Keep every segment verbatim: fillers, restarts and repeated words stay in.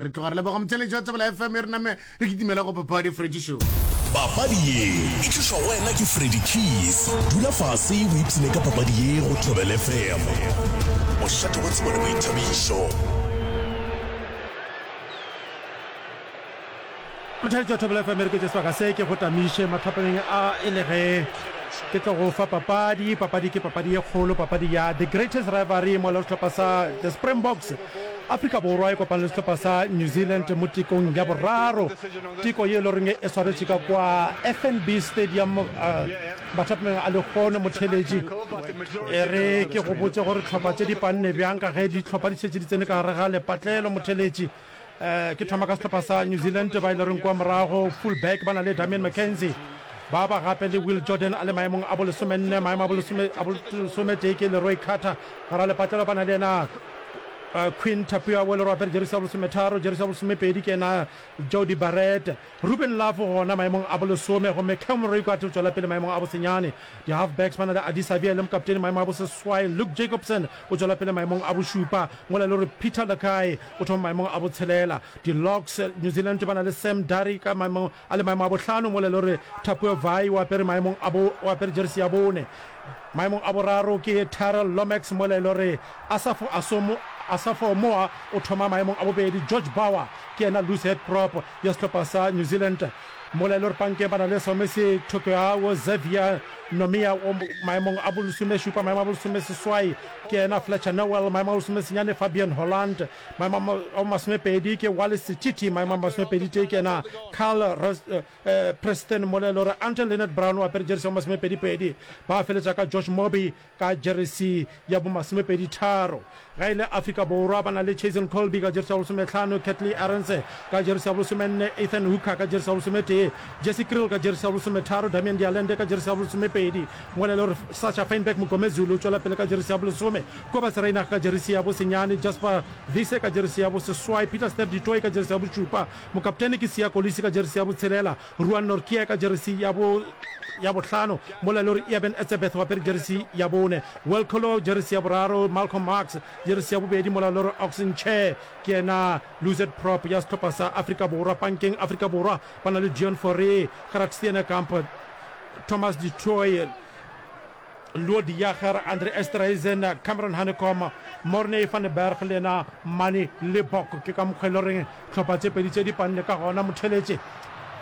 Re tloga re leboga motheeletši wa Thobela F M e re name re kitimela go Papadi Freddy Show. Papadi ye e tlišwa go wena ke Freddy Keys. Dula fase o ipshine ka papadi ye go Thobela F M. Mošate wa tsebo le boithabišo. Motheeletši wa Thobela F M e re ke tše sebaka se ke go tamiše mathapameng a e le ge ke tlo go fa papadi. Papadi ke papadi ye kgolo, papadi ya The Greatest Rivalry mola sehlopha sa The Springboks Afrika Borwa e kopane le sehlopha sa New Zealand mo tekong ya boraro. Teko ye e le goreng e swaretše ka kwa F N B Stadium mathapameng a lehono. Motheeletši, e re ke go botše gore tlhopha tše di panne bjang ka ge dihlopha di šetše di tsene ka gare ga lepatlelo. Motheeletši, ke thoma ka sehlopha sa New Zealand ba e le goreng kwa morago full back ba na le Damian McKenzie, ba ba gape le Will Jordan a le maemong a bolesomenne, maemo a bolesome a bolesometee ke Leroy Carter. Gara lepatlelo ba na le yena Queen Tapia o le gore apere jeresi ya bolesometharo, jeresi ya bolesomepedi ke yena Jody Barrett. Ruben Love gona maemong a bolesome, gomme Cam Roigard o tšwela pele maemong a bosenyane. Di-halfbacks ba na le Adi Savia le mokaptene maemong a boseswai, Luke Jacobson o tšwela pele maemong a bošupa, mola e le gore Peter Lakai o thoma maemong a botshelela. Di-locks New Zealand ba na le Sam Darry ka maemong a le maemo a bohlano, mola e le gore Tapua Vai o apere maemong a bo, o apere jeresi ya bone. Maemong a boraro ke Tyrell Lomax, mola e le gore Asafo Asomo, Asafo Moa o thoma maemong a bobedi. George Bower ke yena loose head prop ya sehlopha sa New Zealand, mola e le gore pankeng ba na le Somesi Tokeau, Xavier Nomia o maemong a bolesomešupa, maemo a bolesomeseswai ke yena Fletcher Noel, maemo a bolesomesenyane Fabian Holland, maemo a masomepedi ke Wallace Titi, maemo a masomepedi tee ke yena Carl Ros-, eh, Preston, mola e le gore Anton Leonard Brown o apere jeresi ya bomasomepedi-pedi. Ba feletša ka Josh Moby ka jeresi ya bomasomepedi-tharo. Ge e le Afrika Borwa ba na le Chasen Colby ka jeresi ya bolesomehlano, Catley Arendse ka jeresi ya bolesomenne, Ethan Hooker ka jeresi ya bolesometee, Jesse Kriel ka jeresi ya bolesometharo, Damian de Allende ka jeresi ya bolesomepedi, mola e le gore Sacha Feinberg Mngomezulu o tšwela pele ka jeresi ya bolesome, Kobus Reinach ka jeresi ya bosenyane, Jasper Wiese ka jeresi ya boseswai, Peter Steph du Toit ka jeresi ya bošupa, mokaptene ke Siya Kolisi ka jeresi ya botshelela, Ruan Nortje ka jeresi ya bo ya bohlano, mola e le gore Eben Etzebeth o apere jeresi ya bone, Will Colo jeresi ya boraro, Malcolm Marx jeresi ya bobedi, mola e le gore Ox Nche ke yena loosehead prop ya sehlopha sa Afrika Borwa. Pankeng Afrika Borwa ba na le Deon Fourie, Gerhard Steenekamp, Thomas du Toit, Lood Jager, Andre Esterhuizen, Cameron Hanekom, Morne van der Berg le yena Manie Libbok. Ke ka mokgwa e le goreng hlopha tše pedi tše di panne ka gona. Motheeletše,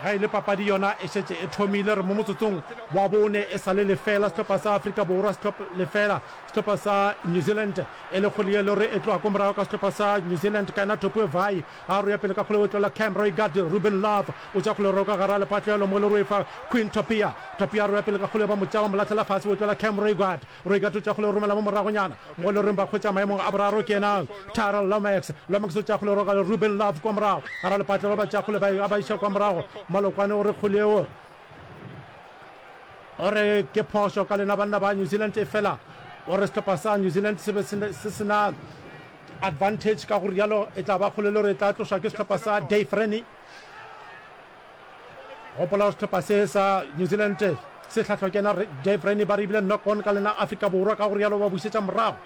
ge e le papadi yona e šetše e thomile, re mo motsotsong wa bone e sa le lefela sehlopha sa Afrika Borwa lefela sehlopha sa New Zealand, e le kgole ye e le gore e tloga ko morago ka sehlopha sa New Zealand ka yena Topue Vai a roya pele ka kgole o tlola Cam Roigard, Ruben Love o tša kgole roka gara lepatlelo mo le roefa Queen Topia, Topia a roya pele ka kgole ba mo tša ba mo lahlela fase o tlola Cam Roigard, Roigard o tša kgole romela mo moragonyana mo le reng ba hwetša maemong a boraro ke yena Tyrell Lomax, Lomax o tša kgole roka Ruben Love kwa morago gara lepatlelo ba tša kgole ba ba iša kwa morago Malokwane o re kgole eo o re ke phošo ka lena banna ba New Zealand, efela o re sehlopha sa New Zealand se be se se na advantage, ka go rialo e tla ba kgole le gore e tla tlošwa ke sehlopha sa Dave Rennie. Gopola gore sehlopha se sa New Zealand se hlahlwa ke yena Dave Rennie, ba re ebile knock on ka lena Afrika Borwa, ka go rialo ba bušetša morago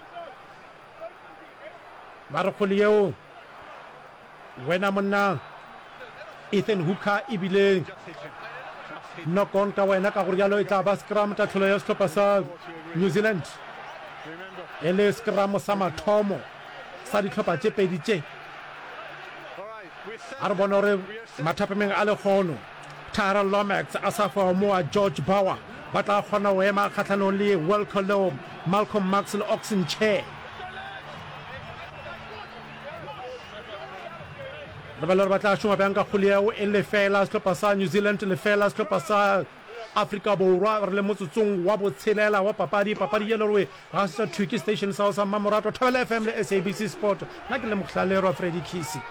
ba re kgole yeo wena monna Ethan Hooker ebile knock on ka wena, ka go rialo e tla ba scrum tahlelo ya sehlopha sa New Zealand e le scrum sa mathomo sa dihlopha tše pedi tše. A re bone gore mathapameng a lekgono Tyrell Lomax, Asafo Aumua, George Bower ba tla kgona go ema kgahlanong le Wilco Lou, Malcolm Marx le Ox Nche. Re bale gore ba tla šoma bjang ka kgole yeo e lefela sehlopha sa New Zealand lefela sehlopha sa Afrika Borwa. Re le motsotsong wa botshelela wa papadi, papadi ye le gore ga se thwi ke station sa sa Mmamoratwa Thobela F M le S A B C Sport. Nna ke le Mohlalerwa Freddy Kisi.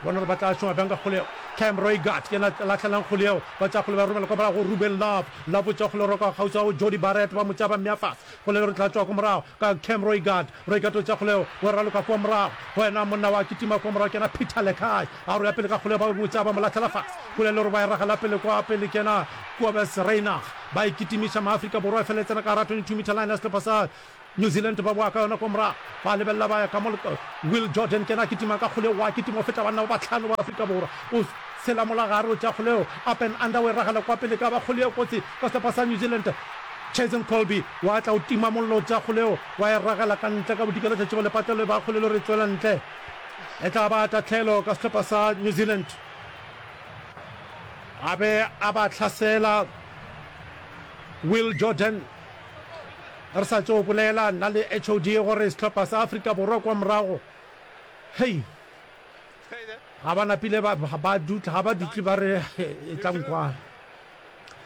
Bona gore ba tla šoma bjang ka kgole yeo. Cam Roigard ke yena lahlelang kgole yeo, ba tša kgole ba romela kwa morago go Ruben Love, Love o tša kgole roka kgauswi go Jody Barrett, ba mo tša ba mmea fase. Kgole le re tla tšwa ko morago ka Cam Roigard, Roigard o tša kgole yeo o raloka kua morago go yena monna wa kitima kua morago ke yena Peter Lekai, a roya pele ka kgole ba mo tša ba mo lahlela fase. Kgole le gore ba e ragela pele kwa pele ke yena Kobus Reinach, ba e kitimiša Maafrika Borwa e fela e tsena ka gara twenty-two meter line ya sehlopha sa New Zealand ba boa ka yona ko morago, ba lebelela ba ya ka mo Will Jordan ke yena a kitima ka kgole, wa kitima o feta banna ba bahlano ba Afrika Borwa, o tshela mola gare, o tšea kgole yeo up and under, o e ragela kwa pele, ka ba kgole ye kotsi ka sehlopha sa New Zealand. Jason Colby wa tla o tima mollo, o tšea kgole yeo wa e ragela ka ntle ka bodikela tšatši go lepatlelo, e ba kgole le gore e tšwela ntle, e tla ba tahlelo ka sehlopha sa New Zealand. A be a ba hlasela Will Jordan. Re sa tšo bolela nna le H O D gore sehlopha sa Afrika Borwa kwa morago, hei, ga ba napile ba, ba dutla, ga ba dutle ba re e tla nkwa.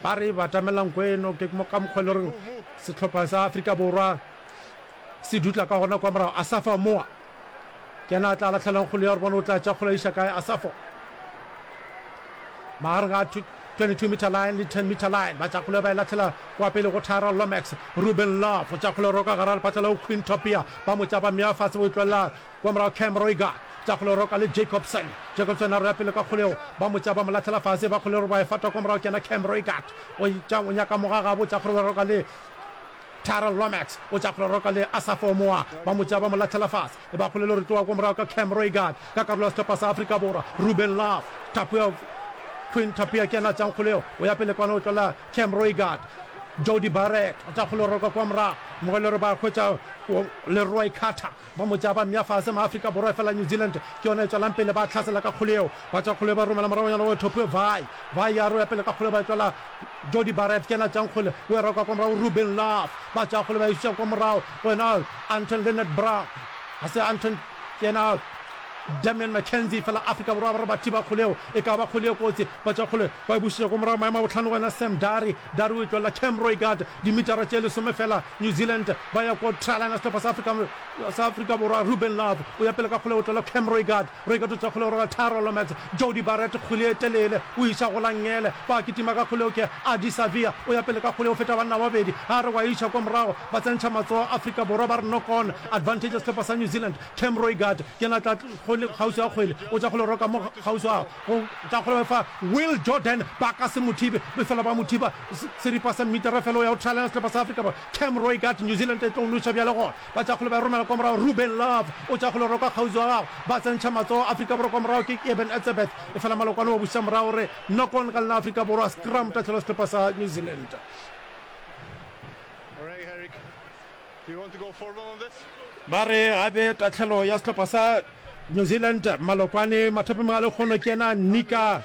Ba re batamela nko eno, ke ka mokgwa e le goreng sehlopha sa Afrika Borwa se dutla ka gona kwa morago. Asafa Moa ke yena a tla lahlelang kgole ya gore bone o tla tša kgole a iša kae. Asafo magareng ga twenty-two meter line le ten meter line, ba tša kgole ba e lahlela kwa pele go Tyrell Lomax. Ruben Love o tša kgole roka gara lepatla leo Queen Topia ba mo tša ba mmea fase, o e tlolela kwa morago Cam Roigard tša kgole roka le Jacobson. Jacobson a roya pele ka kgoleo, ba mo tša ba mo lahlela fase, ba kgole ba e fata kwa morago ke yena Cam Roigard o tša o nyaka mogagabo tša kgole roka le Tyrell Lomax o tša kgole roka le Asafo Moa, ba mo tša ba mo lahlela fase, ba kgole le re tloga kwa morago ka Cam Roigard ka karolo ya sehlopha sa Afrika Borwa. Ruben Love Tapia Quinn Tapia ke yena a tšang kgoleo, o ya pele kwana o tlola Cam Roigard. Jody Barrett o tša kgole roka kwa morago, mo e le gore ba hwetša Leroy Carter ba mo tšea ba mmea fase. Maafrika Borwa efela New Zealand ke yona e tšwelang pele, ba hlasela ka kgole yeo, ba tša kgole ba romela moragonyana go Topue Vai. Vai ya roya pele ka kgole ba e tlola Jody Barrett ke yena a tšang kgole, o e roka kwa morago Ruben Love, ba tša kgole ba e iša kwa morago go yena Anton Lienert Brown, ga se Anton ke yena Damian McKenzie, fela Afrika Borwa ba re ba thiba kgole yeo, e ka ba kgole ye kotsi, ba tša kgole ba e bušetša kwa morago maemo a bohlano go yena Sam Darry, Darry o e tlolela Cam Roigard dimitara tše lesome fela New Zealand ba ya ko try line ya sehlopha sa Afrika sa Afrika Borwa. Ruben Love o ya pele ka kgole o tlolela Cam Roigard, Roigard o tša kgole o roga Tyrell Lomax, Jody Barrett kgole e telele o iša go la nngele, ba kitima ka kgole ke Ardie Savea o ya pele ka kgole o feta banna ba babedi a re wa iša kwa morago, ba tsentšha matsogo Afrika Borwa ba re knock on advantage ya sehlopha sa New Zealand. Cam Roigard ke yena a tla kgole kgauswi ga kgwele, o tša kgole roka mo kgauswi ga go tša kgole fa Will Jordan ba ka se mo thibe, efela ba mo thiba seripa sa mmitara fela o ya go try line sehlopha sa Afrika Borwa. Cam Roigard New Zealand e tlo noša bjale gona, ba tša kgole ba e romela kwa morago Ruben Love o tša kgole roka kgauswi ga gagwe, ba tsentšha matsogo Afrika Borwa kwa morago ke Eben Etzebeth efela malokwane wa buša morago re knock on ka lena Afrika Borwa, scrum tahlelo sehlopha sa New Zealand. Ba re gape tahlelo ya sehlopha sa New Zealand malokwane mathapeng a lekgono ke yena Nika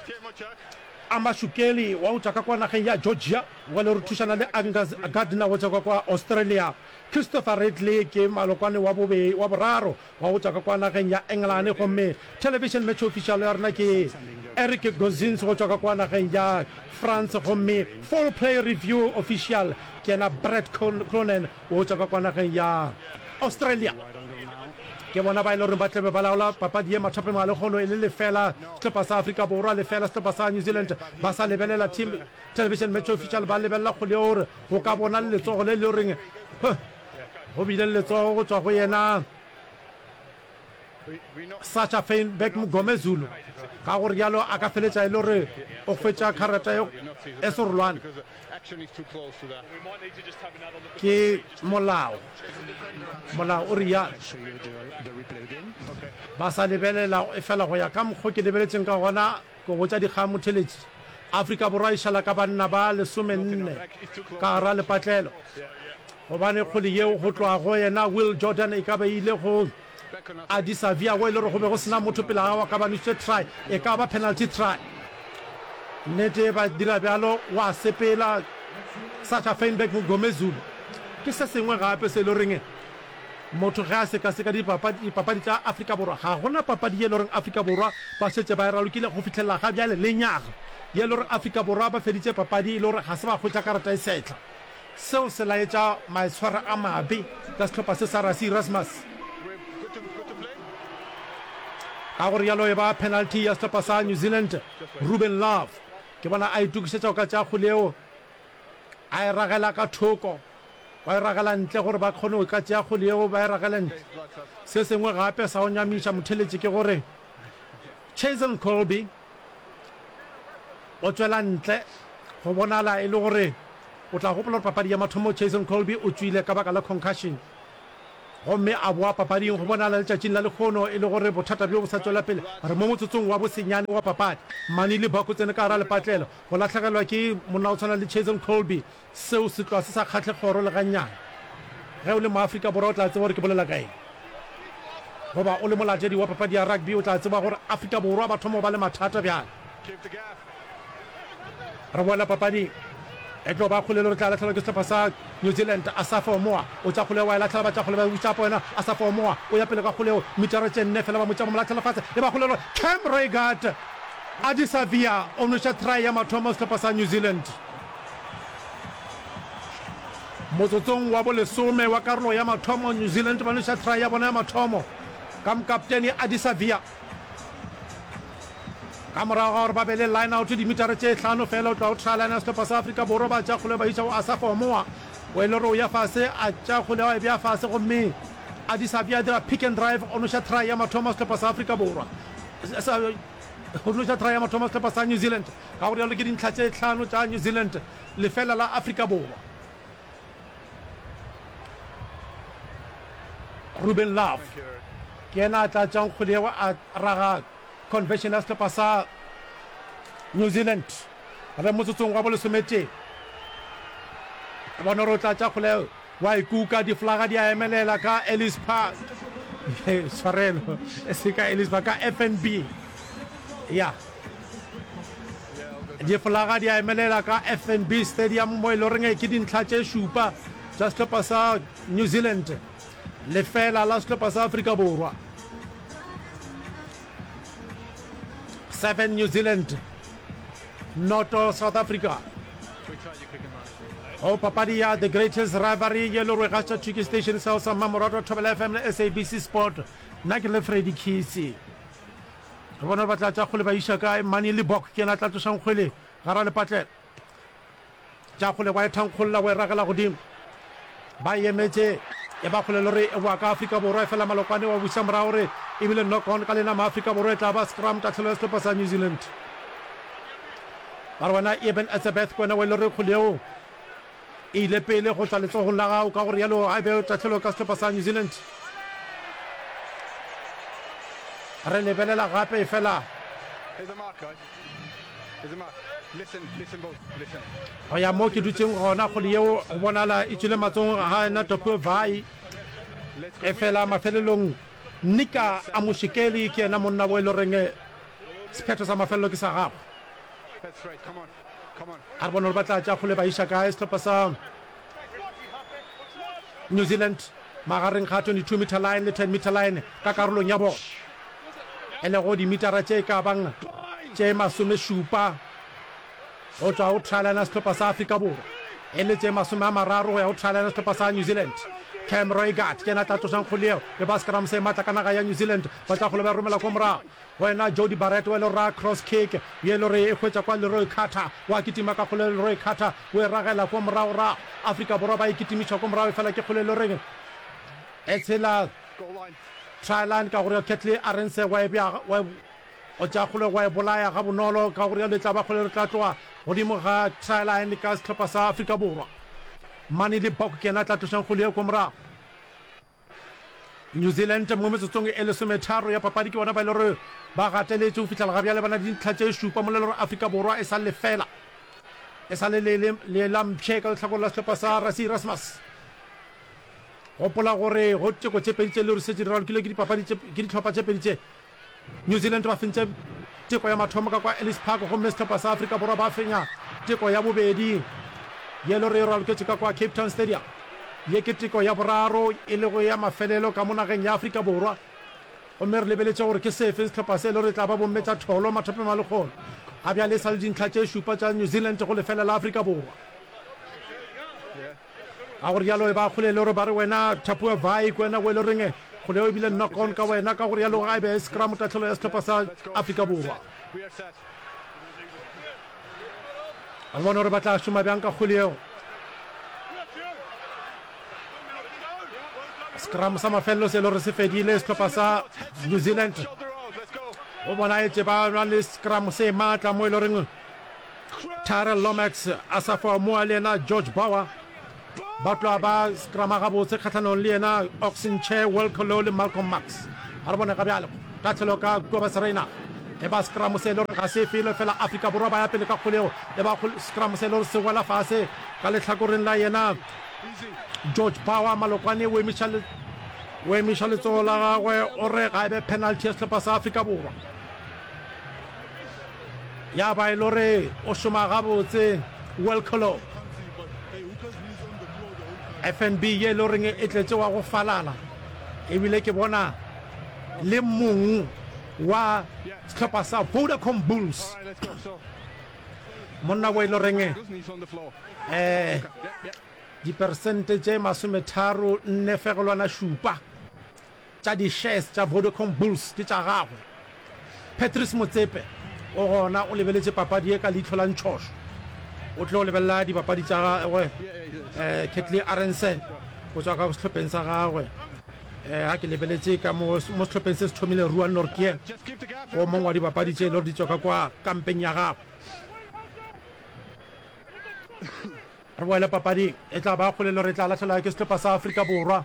Amashukeli wa go tšwa ka kwa nageng ya Georgia, wa le re thušana le Angus Gardner go tšwa ka kwa Australia. Christopher Ridley ke malokwane wa bobe wa boraro wa go tšwa ka kwa nageng ya Engelane, gomme television match official ya rena ke Eric Gozins go tšwa ka kwa nageng ya France, gomme full play review official ke yena Brett Cronin go tšwa ka kwa nageng ya Australia. Ke bona ba e le goreng ba tlabe ba laola papadi ye mathapeng a lekgono e le lefela sehlopha sa Afrika Borwa, lefela sehlopha sa New Zealand. Ba sa lebelela team television match official, ba lebelela kgole gore go ka bona le letsogo le le goreng go bile le letsogo go tšwa go yena Sacha Feinberg Mngomezulu, ka go rialo a ka feletša e le gore o hwetša karata e serolwane. Ke molao, molao o rialo. Ba sa lebelela efela go ya ka mokgo ke lebeletšeng ka gona, ke botša dikgang motheletši, Afrika Borwa e šala ka banna ba lesomenne ka gara lepatlelo, gobane kgole yeo go tloga go yena Will Jordan e ka be e ile go Ardie Savea wo e le gore go be go se na motho pele ga gagwe a ka ba nwešitše try, e ka ba penalty try. Nnete ba dira bjalo, wa sepela Sacha Feinberg Mngomezulu. Ke se sengwe gape se e le goreng motho ge a sekaseka dipapadi, dipapadi tša Afrika Borwa, ga gona papadi ye e le goreng Afrika Borwa ba šetše ba e ralokile go fihlelela ga bjale lenyaga ye e le gore Afrika Borwa ba feditše papadi e le gore ga se ba hwetša karata e sehla. Seo se laetša maitshwaro a mabe ka sehlopha se sa Rassie Erasmus. Ka go rialo e ba penalty ya sehlopha sa New Zealand. Ruben Love ke bona a itokišetša go ka tšea kgole yeo, a e ragela ka thoko, ba e ragela ntle gore ba kgone go ka tšea kgole yeo, ba e ragele ntle. Se sengwe gape sa go nyamiša motheletši ke gore Chazen Colby o tšwela ntle, go bonala e le gore o tla gopola gore papadi ya mathomo Jason Colby o tšwile ka baka la concussion. Gomme a boa papading go bonala letšatšing la lehono e le gore bothata bjo bo sa tšwela pele. Re mo motsotsong wa bosenyane wa papadi. Manie Libbok o tsene ka gara lepatlelo go lahlegelwa ke monna o tshwana le Cheslin Kolbe. Seo se tloga se sa kgahle kgoro le gannyane. Ge o le Moafrika Borwa o tla tseba gore ke bolela ka eng. Goba o le molatedi wa papadi ya rugby o tla tseba gore Afrika Borwa ba thoma go ba le mathata bjale. Re boela papading. E tlo ba kgole le re tla lahlegelwa ke sehlopha sa New Zealand. Asafo Amoah o tša kgole wa e lahlela, ba tša kgole ba e buša gape wena. Asafo Amoah o ya pele ka kgole yeo, metara tše nne fela ba mo tša ba mo lahlela fase. E ba kgole le Cam Roigard. Ardie Savea o nweša try ya mathomo sehlopha sa New Zealand. Motsotsong wa bolesome wa karolo ya mathomo, New Zealand ba nweša try ya bona ya mathomo ka mokaptene Ardie Savea. Ka morago ga gore ba be le line-out dimitara tše hlano feela go tloga go try line ya sehlopha sa Afrika Borwa, ba tšea kgole ba iša go Asafo Amoah o e le gore o ya fase, a tšea kgole a e bea fase gomme Ardie Savea a dira pick and drive o noša try ya mathomo sehlopha sa Afrika Borwa o noša try ya mathomo sehlopha sa New Zealand. Ka go rialo ke dintlha tše hlano tša New Zealand lefela la Afrika Borwa. Ruben Love ke yena a tla tšang kgwele yeo a raga conversion ya sehlopha sa New Zealand. Re motsotsong wa bolesometee. Re bona gore o tla tša kgwele yeo wa e kuka, diflaga di a emelela ka Ellis Park. Tshwarelo, e se ka Ellis Park, ka F N B. Ya. Difolaga di a emelela ka F N B Stadium mo e le goreng ke dintlha tše šupa tša sehlopha sa New Zealand, lefela la sehlopha sa Afrika Borwa. Seven New Zealand, noto South Africa. Go papadi ya The Greatest Rivalry ye le gore gaša thwi ke station sa sa mmamoratwa Thobela F M le S A B C Sport. Nna ke le Freddy Khisi. Re bona gore ba tla tša kgole ba iša kae. Manie Libbok ke yena a tla tlošang kgwele gara lepatlelo. Tša kgole wa e thankgolla wa e ragela godimo. Ba e emetše e ba kgole le gore e boa ka Afrika Borwa, efela Malokwane wa buša morago gore e bile knock on ka lena Maafrika Borwa e tla ba scrum tahlelo ya sehlopha sa New Zealand. Ba re wena Eben Etzebeth ke wena wa e le gore kgole yeo e ile pele go tšwa letsogong la gago, ka go realo a be tahlelo ka sehlopha sa New Zealand. Re lebelela gape efela go ya mo ke dutšeng gona, kgole yeo go bonala e tšwile matsogong ga yena Topue Vai. Efela mafelelong Nika Amushikeli ke yena monna wo e le goreng sephetho sa mafelelo ke sa gagwe. A re bone gore ba tla tša kgole ba iša kae sehlopha sa New Zealand magareng ga twenty-two meter line le ten meter line ka karolong ya bona, e lego dimitara tše ka bang tše masomešupa go tšwa go try line ya sehlopha sa Afrika Borwa, e le tše masome a mararo go ya go try line ya sehlopha sa New Zealand. Cam Roigard ke yena a tla tlošang kgole yeo, e ba scrum se matla ka naga ya New Zealand, ba tla kgole ba e romela ko morago. Go yena Jody Barrett wa e le ra cross kick ye e le gore e hwetša kwa Leroy Carter, wa kitima ka kgole Leroy Carter o e ragela kwa moragorago. Afrika Borwa ba e kitimiša kwa morago efela ke kgole e le goreng e tshela try line ka gore Catley Arendse wa e bea wa o tšea kgole wa e bolaya gabonolo ka gore yalo e tla ba kgole re tla tloga godimo ga try line ka sehlopha sa Afrika Borwa. Manie Libbok ke yena a tla tlošang kgole yeo kwa morago. New Zealand mo metsotsong e lesometharo ya papadi ke bona ba e le gore ba gateletše go fihlela ga bjale ba na le dintlha tše šupa mola e le gore Afrika Borwa e sa lefela e sa le le la mpšhe ka lehlakore la sehlopha sa Rassie Erasmus. Gopola gore go teko tše pedi tše le gore šetše di ralokilwe ke dipapadi tše ke dihlopha tše pedi tše. New Zealand ba fentše teko ya mathomo ka kwa Ellis Park gomme sehlopha sa Afrika Borwa ba fenya teko ya bobedi ye le gore e raloketše ka kwa Cape Town Stadium. Ye ke teko ya boraro e lego ya mafelelo ka mo nageng ya Afrika Borwa gomme re lebeletše gore ke sefe sehlopha se le gore e tla ba bomme tša tholo mathapeng a lekgolo. Ga bjale e sa le dintlha tše šupa tša New Zealand go lefela la Afrika Borwa. Ka go rialo e ba kgole le gore ba re wena Thapua Vai ke wena o e le goreng kgole eo e bile knock on ka wena, ka go rialo ga e be scrum tahlelo ya sehlopha sa Afrika Borwa. Re bone gore ba tla šoma bjang ka kgole eo. Scrum sa mafelelo se e le gore se fedile sehlopha sa New Zealand go bonaetše ba na le scrum se maatla mo e le goreng Tyrell Lomax a sa fa moa le yena George Bauer Ba tloga ba scrama gabotse kgahlanong le yena Oxenche, Wilco le Malcolm Marx. A re bone ga bjale tahlelo ka Kobus Reinach. E ba scrum se e le gore ga se felo fela Afrika Borwa ba ya pele ka kgolego. E ba scrum se e le gore se wela fase ka lehlakoreng la yena George Power. Malokwane o emiša le o emiša letsogo la gagwe o re ga e be penalty ya sehlopha sa Afrika Borwa. Ya ba e le gore o šoma gabotse Wilco. F N B ye e le goreng e tletše wa go falala, ebile ke bona le mong wa sehlopha sa Vodacom Bulls, monna wo e le goreng eh diperesente tše masometharo nne fegelwana šupa tša di-shares tša Vodacom Bulls ke tša gagwe. Patrice Motsepe o gona o lebeletše papadi ye ka leihlo la ntšhošo, o tlo lebelela dipapadi tša gagwe eh Ketly Arense go tšwa ka sehlopheng sa gagwe. Eh ga ke lebeletše ka mo mo sehlopheng se se thomile Ruan Nortje, o mongwe wa dipapadi tše e le gore di tšwa ka kwa kampeng ya gagwe. Re boele papading, e tla ba kgolelo re tla lahlela ke sehlopha sa Afrika Borwa.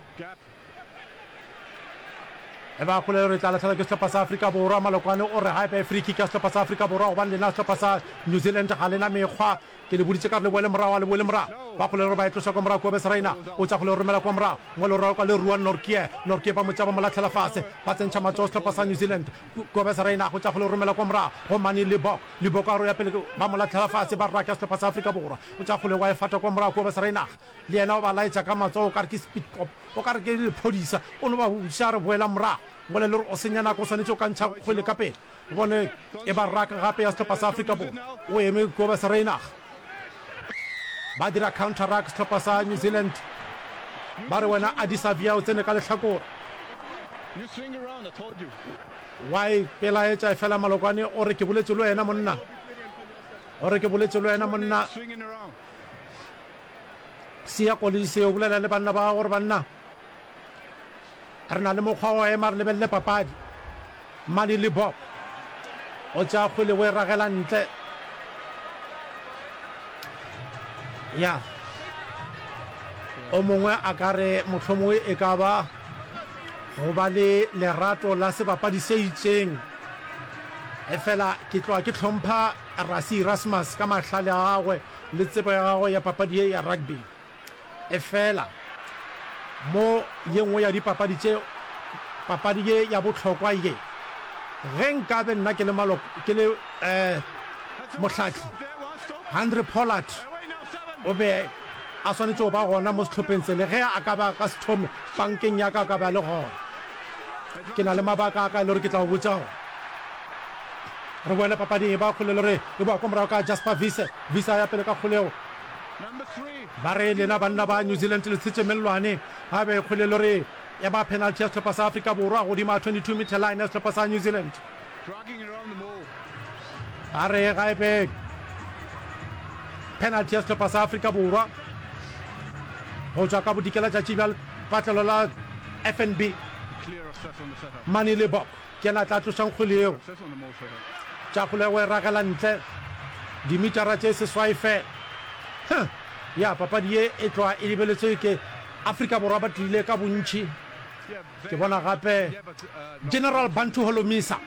E ba kgolelo re tla lahlela ke sehlopha sa Afrika Borwa. Malokwane o re ga e be free kick ya sehlopha sa Afrika Borwa gobane lena sehlopha sa New Zealand ga lena mekgwa. Ke le boditše ka re le boele morago, a le boele morago. Ba kgolelo re ba e tloša kwa morago Kobus Reina o tša kgolelo romela kwa morago. Ngwalo roka le Ruan Nortje. Nortje ba mo tša ba mo lahlela fase. Ba tsentšha matsogo sehlopha sa New Zealand. Kobus Reina go tša kgolelo romela kwa morago go Manie Libbok. Libbok a roya pele ba mo lahlela fase ba raka sehlopha sa Afrika Borwa. O tša kgole wa e fata kwa morago Kobus Reina. Le yena o ba laetša ka matsogo o ka re ke speed cop, o ka re ke lephodisa. O no ba botšiša a re boela morago. Ngwale le gore o senya nako o swanetše o ka ntšha kgwele ka pele. Bone e ba raka gape ya sehlopha sa Afrika Borwa. O eme Kobus Reinach. Ba dira counter ruck sehlopha sa New Zealand. Ba re wena Adi Savia o tsene ka lehlakore. Wa e pelaetša efela Malokwane o re ke boletše le wena monna. O re ke boletše le wena monna. Siya Kolisi o bolela le banna ba gore banna re na le mokgwa wa ema re lebelele papadi. Manie Libbok o tšea kgwele o e ragela ntle. Ya o mongwe a ka re mohlomongwe e ka ba go ba le lerato la sebapadi se itšeng, efela ke tloga ke hlompha Rassie Erasmus ka mahlale a gagwe le tsebo ya gagwe ya papadi ye ya rugby. Efela mo ye nngwe ya dipapadi tše, papadi ye ya bohlokwa ye, ge nkabe nna ke le maloko, ke le eh, mohlahli, Handre Pollard o be a swanetše go ba gona mo sehlopheng se, le ge a ka ba ka se thome pankeng ya ka, a ka ba le gona. Ke na le mabaka a ka e le gore ke tla go botša gona. Re boele papading, e ba kgole le re e boa kwa morago ka Jasper Wiese. Wiese a ya pele ka kgolego. Ba re lena banna ba New Zealand le tshetše mellwane. Ga be kgole le re e ba penalty ya sehlopha sa Afrika Borwa godimo ga twenty-two meter line ya sehlopha sa New Zealand. Ba re ga e be penalty ya sehlopha sa Afrika Borwa go tšwa ka bodikela tšatši bja lepatlelo la F N B. Manie Libbok ke yena a tla tlošang kgwele yeo. Tša kgolego e ragela ntle dimitara tše seswai fela. Huh! Ya, papadi ye e tloga e lebeletšwe ke Afrika Borwa ba tlile ka bontši. Ke bona gape General Bantu Holomisa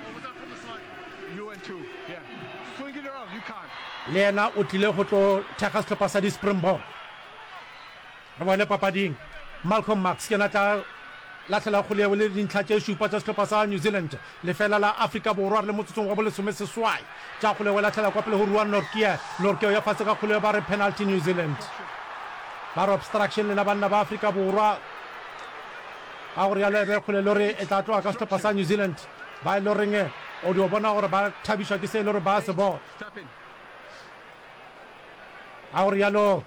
le yena o tlile go tlo thekga sehlopha sa di-Springbok. Re boele papading. Malcolm Marx ke yena a tla lahlela kgole yeo le dintlha tše šupa tša sehlopha sa New Zealand. Lefela la Afrika Borwa re le motsotsong wa bolesomeseswai. Tša kgole yeo e lahlela kwa pele go Ruan Nortje. Nortje o ya fase ka kgole yeo ba re penalty New Zealand. Ba re obstruction lena banna ba Afrika Borwa. Ka go realo e be kgole le gore e tla tloga ka sehlopha sa New Zealand. Ba e le goreng o dio bona gore ba thabišwa ke se e le gore ba se bona. Ka go realo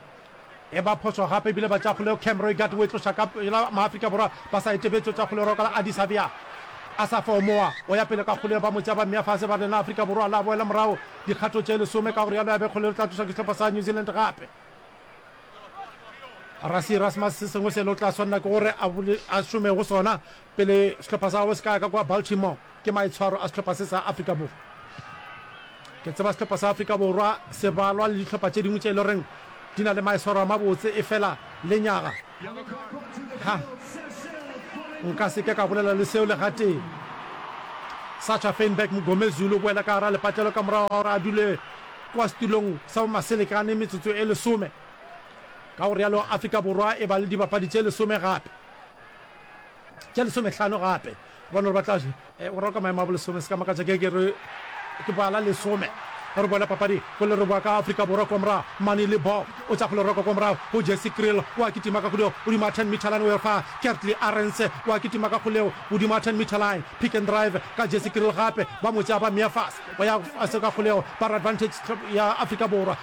e ba phošo gape ebile ba tša kgolego Cam Roigard o e tloša ka pela Maafrika Borwa ba sa etebetšo tša kgolego ka la Addis Abia a sa fomoa o ya pele ka kgolego ba mo tša ba mmea fase ba rena Afrika Borwa la boela morago dikgato tše lesome ka go realo ya be kgolego tla tloša ke sehlopha sa New Zealand gape Rassie Erasmus se sengwe se le o tla swanela ke gore a šome go sona pele sehlopha sa gagwe se ka ya ka kwa Baltimore ke maitshwaro a sehlopha se sa Afrika Borwa. Ke tseba sehlopha sa Afrika Borwa se balwa le dihlopha tše dingwe tše e le goreng di na le maitshwaro a mabotse, efela Lenyaga. Ha. Nka se ke ka bolela le seo le gatee. Sacha Feinberg Mngomezulu o boela ka gara lepatlelo ka morago ga gore a dule kwa setulong sa bomaselekane metsotso e lesome. Ka go realo Afrika Borwa e ba le dibapadi tše lesome gape. Tše lesomehlano gape. Gobane gore ba tla o raloka maemo a bolesome, se ka makatša ke ke re ke bala lesome. Re boela papadi go le re boa ka Afrika Borwa kwa morago. Manie Libbok o tša go le roka kwa morago go Jesse Kriel wa kitima ka go godimo ga ten meter line o ya fa Kurt-Lee Arendse wa kitima ka go leo godimo ga ten meter line. Pick and drive ka Jesse Kriel gape ba mo tšea ba mmea fase o ya fase ka go leo ba re advantage ya Afrika Borwa.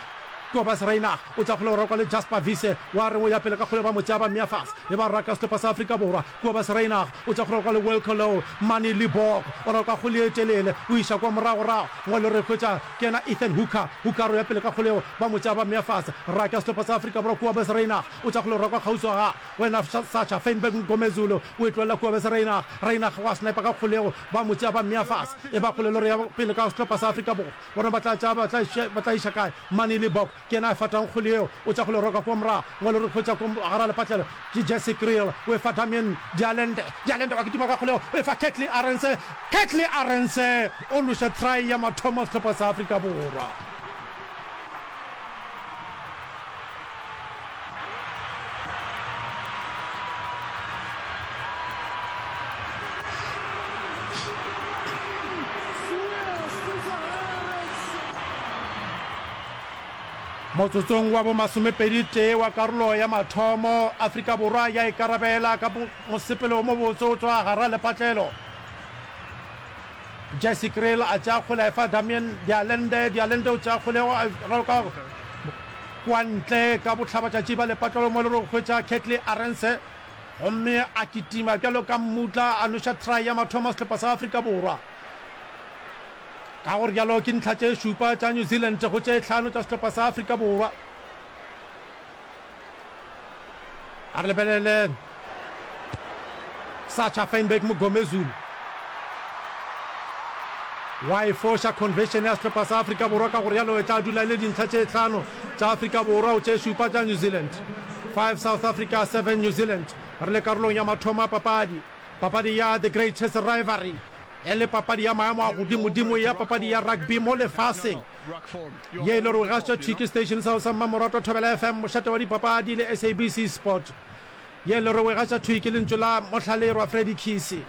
Kobus Reinach o tša go le roka le Jasper Wiese wa re o ya pele ka kgole ba mo tšea ba mmea fase e ba raka sehlopha sa Afrika Borwa. Kobus Reinach o tša go roka le Wilco Louw. Manie Libbok o roka kgole e telele o iša kwa moragorago ngwalo re hwetša ke yena Ethan Hooker. Hooker o ya pele ka kgole yeo ba mo tšea ba mmea fase. Raka sehlopha sa Afrika Borwa Kobus Reinach o tša go le roka kgauswi ga wena Sacha Feinberg Mngomezulu o e tlohela Kobus Reinach. Reinach wa sniper ka kgole yeo ba mo tšea ba mmea fase e ba kgole lore ya pele ka sehlopha sa Afrika Borwa. Bona ba tla tšea ba tla iša ba tla iša kae? Manie Libbok ke yena a fatang kgole yeo, o tša go le roka kua morago. Ngwalo re hwetša kua gara lepatlelo ke Jesse Kriel, o e fa Damian de Allende. De Allende wa kitima ka kgole yeo, o e fa Kurt-Lee Arendse. Kurt-Lee Arendse o loša try ya mathomo sehlopha sa Afrika Borwa. Motsotsong wa bomasomepedi tee wa karolo ya mathomo, Afrika Borwa ya ikarabela ka mosepelo o mobotse o tšwa gara lepatlelo. Jesse Kriel a tšea kgole a efa Damian de Allende, de Allende o tšea kgole a raloka kwa ntle ka bohlabatšatši ba lepatlelo mo e le gore o hwetša Kurt-Lee Arendse gomme a kitima bjalo ka mmutla a noša try ya mathomo sehlopha sa Afrika Borwa. Ka go rialo ke ntlha tše šupa tša New Zealand go tše hlano tša sehlopha sa Afrika Borwa. A re lebelele Sacha Feinberg Mngomezulu wa e foša conversion ya sehlopha sa Afrika Borwa, ka go rialo e tla dula e le dintlha tše hlano tša Afrika Borwa go tše šupa tša New Zealand. Five South Africa, seven New Zealand. Re le karolong ya mathomo a papadi, papadi ya The Greatest Rivalry e le papadi ya maemo a godimodimo ya papadi ya rugby mo lefaseng ye e le gore gašwa thwi ke station sa sa mmamoratwa Thobela F M, mošate wa dipapadi le S A B C Sport. Ye e le gore gašwa thwi ke lentšu la mohlalerwa Freddy Khisi.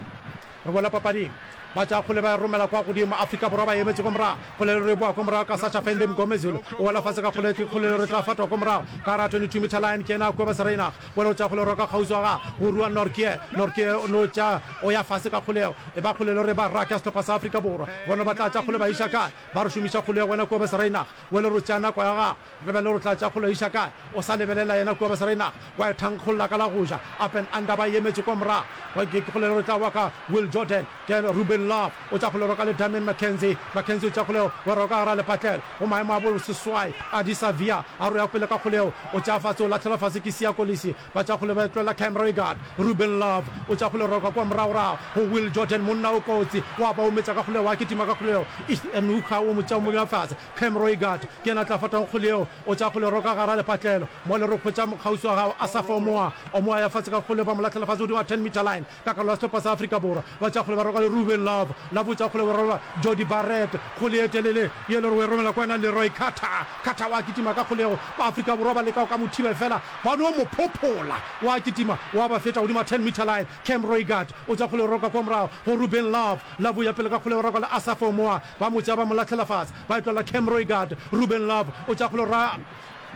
Re boela papading. Ba tša kgole ba e romela kwa godimo. Afrika Borwa ba emetše ko morago. Kgole le re boa ko morago ka Sacha Fende Mngomezulu. O wela fase ka kgole, kgole le re tla fatwa ko morago. Ka ra twenty two meter line ke yena Kobus Reinach. Wela o tša kgole roka kgauswi wa ga go rua Nortje. Nortje o no tša o ya fase ka kgolego. E ba kgole le re ba raka sehlopha sa Afrika Borwa. Bona ba tla tša kgole ba iša kae? Ba re šomiša kgolego wena Kobus Reinach. Wele re tšea nako ya gago. Re be le re tla tša kgole iša kae? O sa lebelela yena Kobus Reinach. Wa e thankgolla ka la go ja. Up and under ba e emetše kwa morago. Ke kgole le re tla wa ka Will Jordan. Ke Ruben Love o tša kgole roka le Damian McKenzie. McKenzie o tša kgolego wa roka gara lepatlelo go maemo a bo seswai. Adi Savia a roya pele ka kgolego o tšea fase o lahlela fase ke Siya Kolisi. Ba tša kgole ba e tlohela Cam Roigard. Ruben Love o tša kgole roka kwa moragorago go Will Jordan monna o kotsi wa ba ometša ka kgolego wa kitima ka kgolego. Ethan Hooker o mo tšea o mo bea fase. Cam Roigard ke yena a tla fatang kgole yeo o tša kgole roka gara lepatlelo. Mo le re hwetša mokgauswi wa gago Asaf Omoa. Omoa ya fase ka kgole ba mo lahlela fase godimo ga ten meter line. Ka karolo ya sehlopha sa Afrika Borwa, ba tša kgole ba roka le Ruben Love, Love o tša kgole ba rola Jordie Barrett, kgole ye telele ye le gore o e romela kwa yena Leroy Carter, Carter wa kitima ka kgolego, ba Afrika Borwa ba leka go ka mo thiba efela ba no mo phophola, wa kitima wa ba feta godimo ga ten meter line, Cam Roigard o tša kgole o roka kwa morago go Ruben Love, Love o ya pele ka kgole o roka le Asaf Omoa, ba mo tšea ba mo lahlela fase, ba e tlohela Cam Roigard, Ruben Love o tša kgole o ra.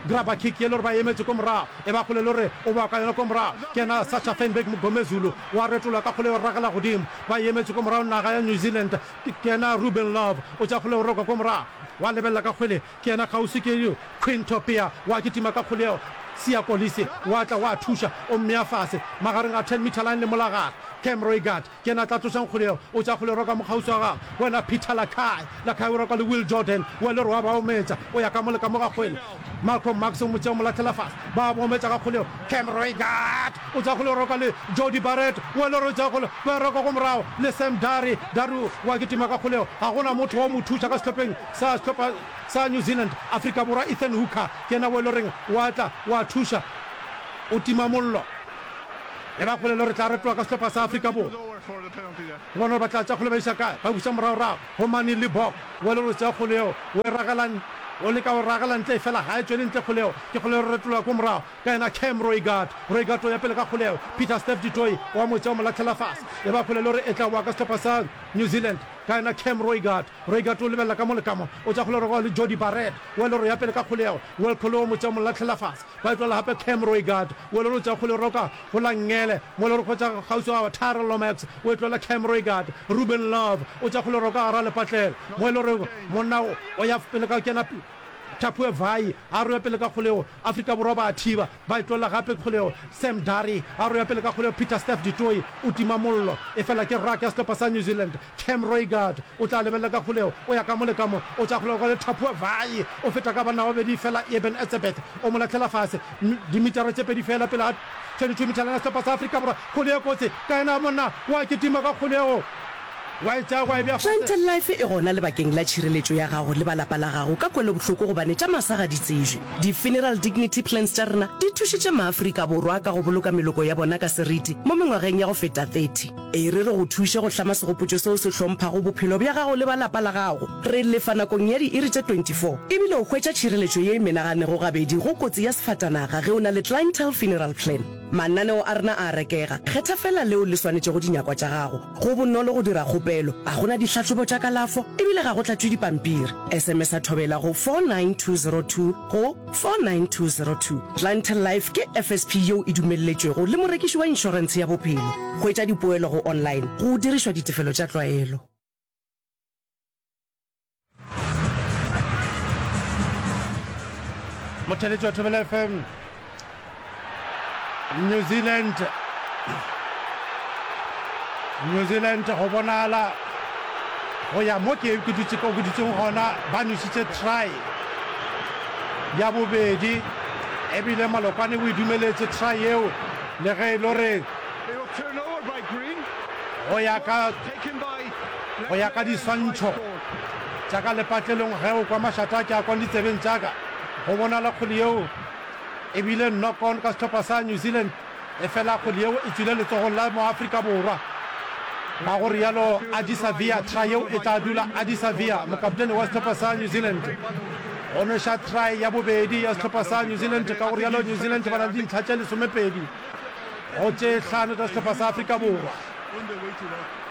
Grabber kick ye le gore ba emetše ko morago e ba kgole le gore o boa ka yona ko morago ke yena Sacha Feinberg Mngomezulu wa retola ka kgole o ragela godimo ba emetše ko morago naga ya New Zealand ke yena Ruben Love o tša kgole o roka ko morago wa lebelela ka kgwele ke yena kgauswi ke Quinto Pea wa kitima ka kgole yeo Siya Kolisi wa tla wa thuša o mmea fase magareng a ten meter line le molagare Cam Roigard Ke yena a tla tlošang kgole yeo. O tša kgole roka mokgauswi wa gagwe. Wena Peter Lakai. Lakai o roka le Will Jordan. Wa le re wa ba ometša. O ya ka mo le ka mo ga kgwele. Malcolm Marx o mo tšea o mo lahlela fase. Ba mo ometša ka kgole yeo. Cam Roigard o tša kgole roka le Jordie Barrett. Wa le re o tša kgole ba roka ko morago le Sam Darry. Darry wa kitima ka kgole yeo. Ga go na motho wa mo thuša ka sehlopheng sa sehlopha sa New Zealand. Afrika Borwa Ethan Hooker ke yena wo e le goreng wa tla wa thuša. o tima mollo. E ba kgole le gore tla retoa ka sehlopha sa Afrika Borwa. Re bone gore ba tla tša kgole ba iša kae. Ba buša moragorago go Manie Libbok, o e le gore o tšea kgole yeo, o e ragela, o leka go ragela ntle, efela ga e tšwele ntle kgole yeo. Ke kgole re retologa ko morago ka yena Cam Roigard. Roigard o ya pele ka kgole yeo. Pieter-Steph du Toit o a mo tšea o mo lahlela fase. E ba kgole le gore e tla boa ka sehlopha sa New Zealand ka yena Cam Roigard. Roigard o lebelela ka mo le ka mo, o tša kgole rogo le Jordie Barrett, o e le gore o ya pele ka kgole yeo. Will Colo o mo tšea o mo lahlela fase. Ba e tlogela gape Cam Roigard, o e le gore o tšea kgole roka go la nngele, mo e le gore kgotsa kgauswi ga Tyrell Lomax, o e tlogela Cam Roigard. Ruben Love o tšea kgole roka gara lepatlelo, mo e le gore monna o ya pele ka kena Thapue Vai a roya pele ka kgolego, Afrika Borwa ba a thiba, ba e tlogela gape kgolego. Sam Darry a roya pele ka kgolego, Pieter-Steph du Toit o tima mollo, efela ke ruck ya sehlopha sa New Zealand. Cam Roigard o tla lebelela ka kgolego, o ya ka mo le ka mo, o tša kgolego ka le Thapua Vai o feta ka banna ba babedi fela Eben Etzebeth o mo lahlela fase dimitara tše pedi fela pele ga twenty-two meter line ya sehlopha sa Afrika Borwa. Kgole ye kotsi ka yena monna wa kitima ka kgolego wa e tšea wa e bea fase. Clientele Life e gona lebakeng la tšhireletšo ya gago le ba lapa la gago ka kwelobohloko gobane tša masa ga di tsejwe. Di-funeral dignity plans tša rena di thušitše maAfrika Borwa ka go boloka meloko ya bona ka seriti mo mengwageng ya go feta thirty. E re re go thuše go hlama segopotšo seo se hlomphago bophelo bja gago le ba lapa la gago. Re lefa nakong ya diiri tše twenty-four ebile o hwetša tšhireletšo ye e menaganego gabedi go kotsi ya sefatanaga ge o na le Clientele Funeral Plan. Mananeo a rena a a rekega, kgetha feela leo le swanetšego dinyakwa tša gago. Go bonolo go dira kgopelo, ga go na dihlahlobo tša kalafo ebile ga go tlatšwe dipampiri. S M S-a Thobela go four nine two zero two go four nine two zero two. Clientele Life ke F S P yeo e dumelletšwego le morekiši wa inšorentshe ya bophelo. Hwetša dipoelo go online go dirišwa ditefelo tša tlwaelo. Motheletši wa Thobela F M, New Zealand New Zealand go bonala go ya mo ke ke dutše ko ke dutseng gona ba nwešitše try ya bobedi ebile Malokwane o e dumeletše try yeo le ge e le gore go ya ka go ya ka diswantšho tša ka lepatlelong ge o kwa mašata a ke a kwang ditsebeng tša ka go bonala kgwele yeo e bile knock on ka sehlopha sa New Zealand efela kgwele yeo e tšwile letsogong la moAfrika Borwa. Ka go rialo Ardie Savea try yeo e tla dula. Ardie Savea mokaptene wa sehlopha sa New Zealand go nweša try ya bobedi ya sehlopha sa New Zealand. Ka go rialo New Zealand ba na le dintlha tše lesomepedi go tše hlano tša sehlopha sa Afrika Borwa.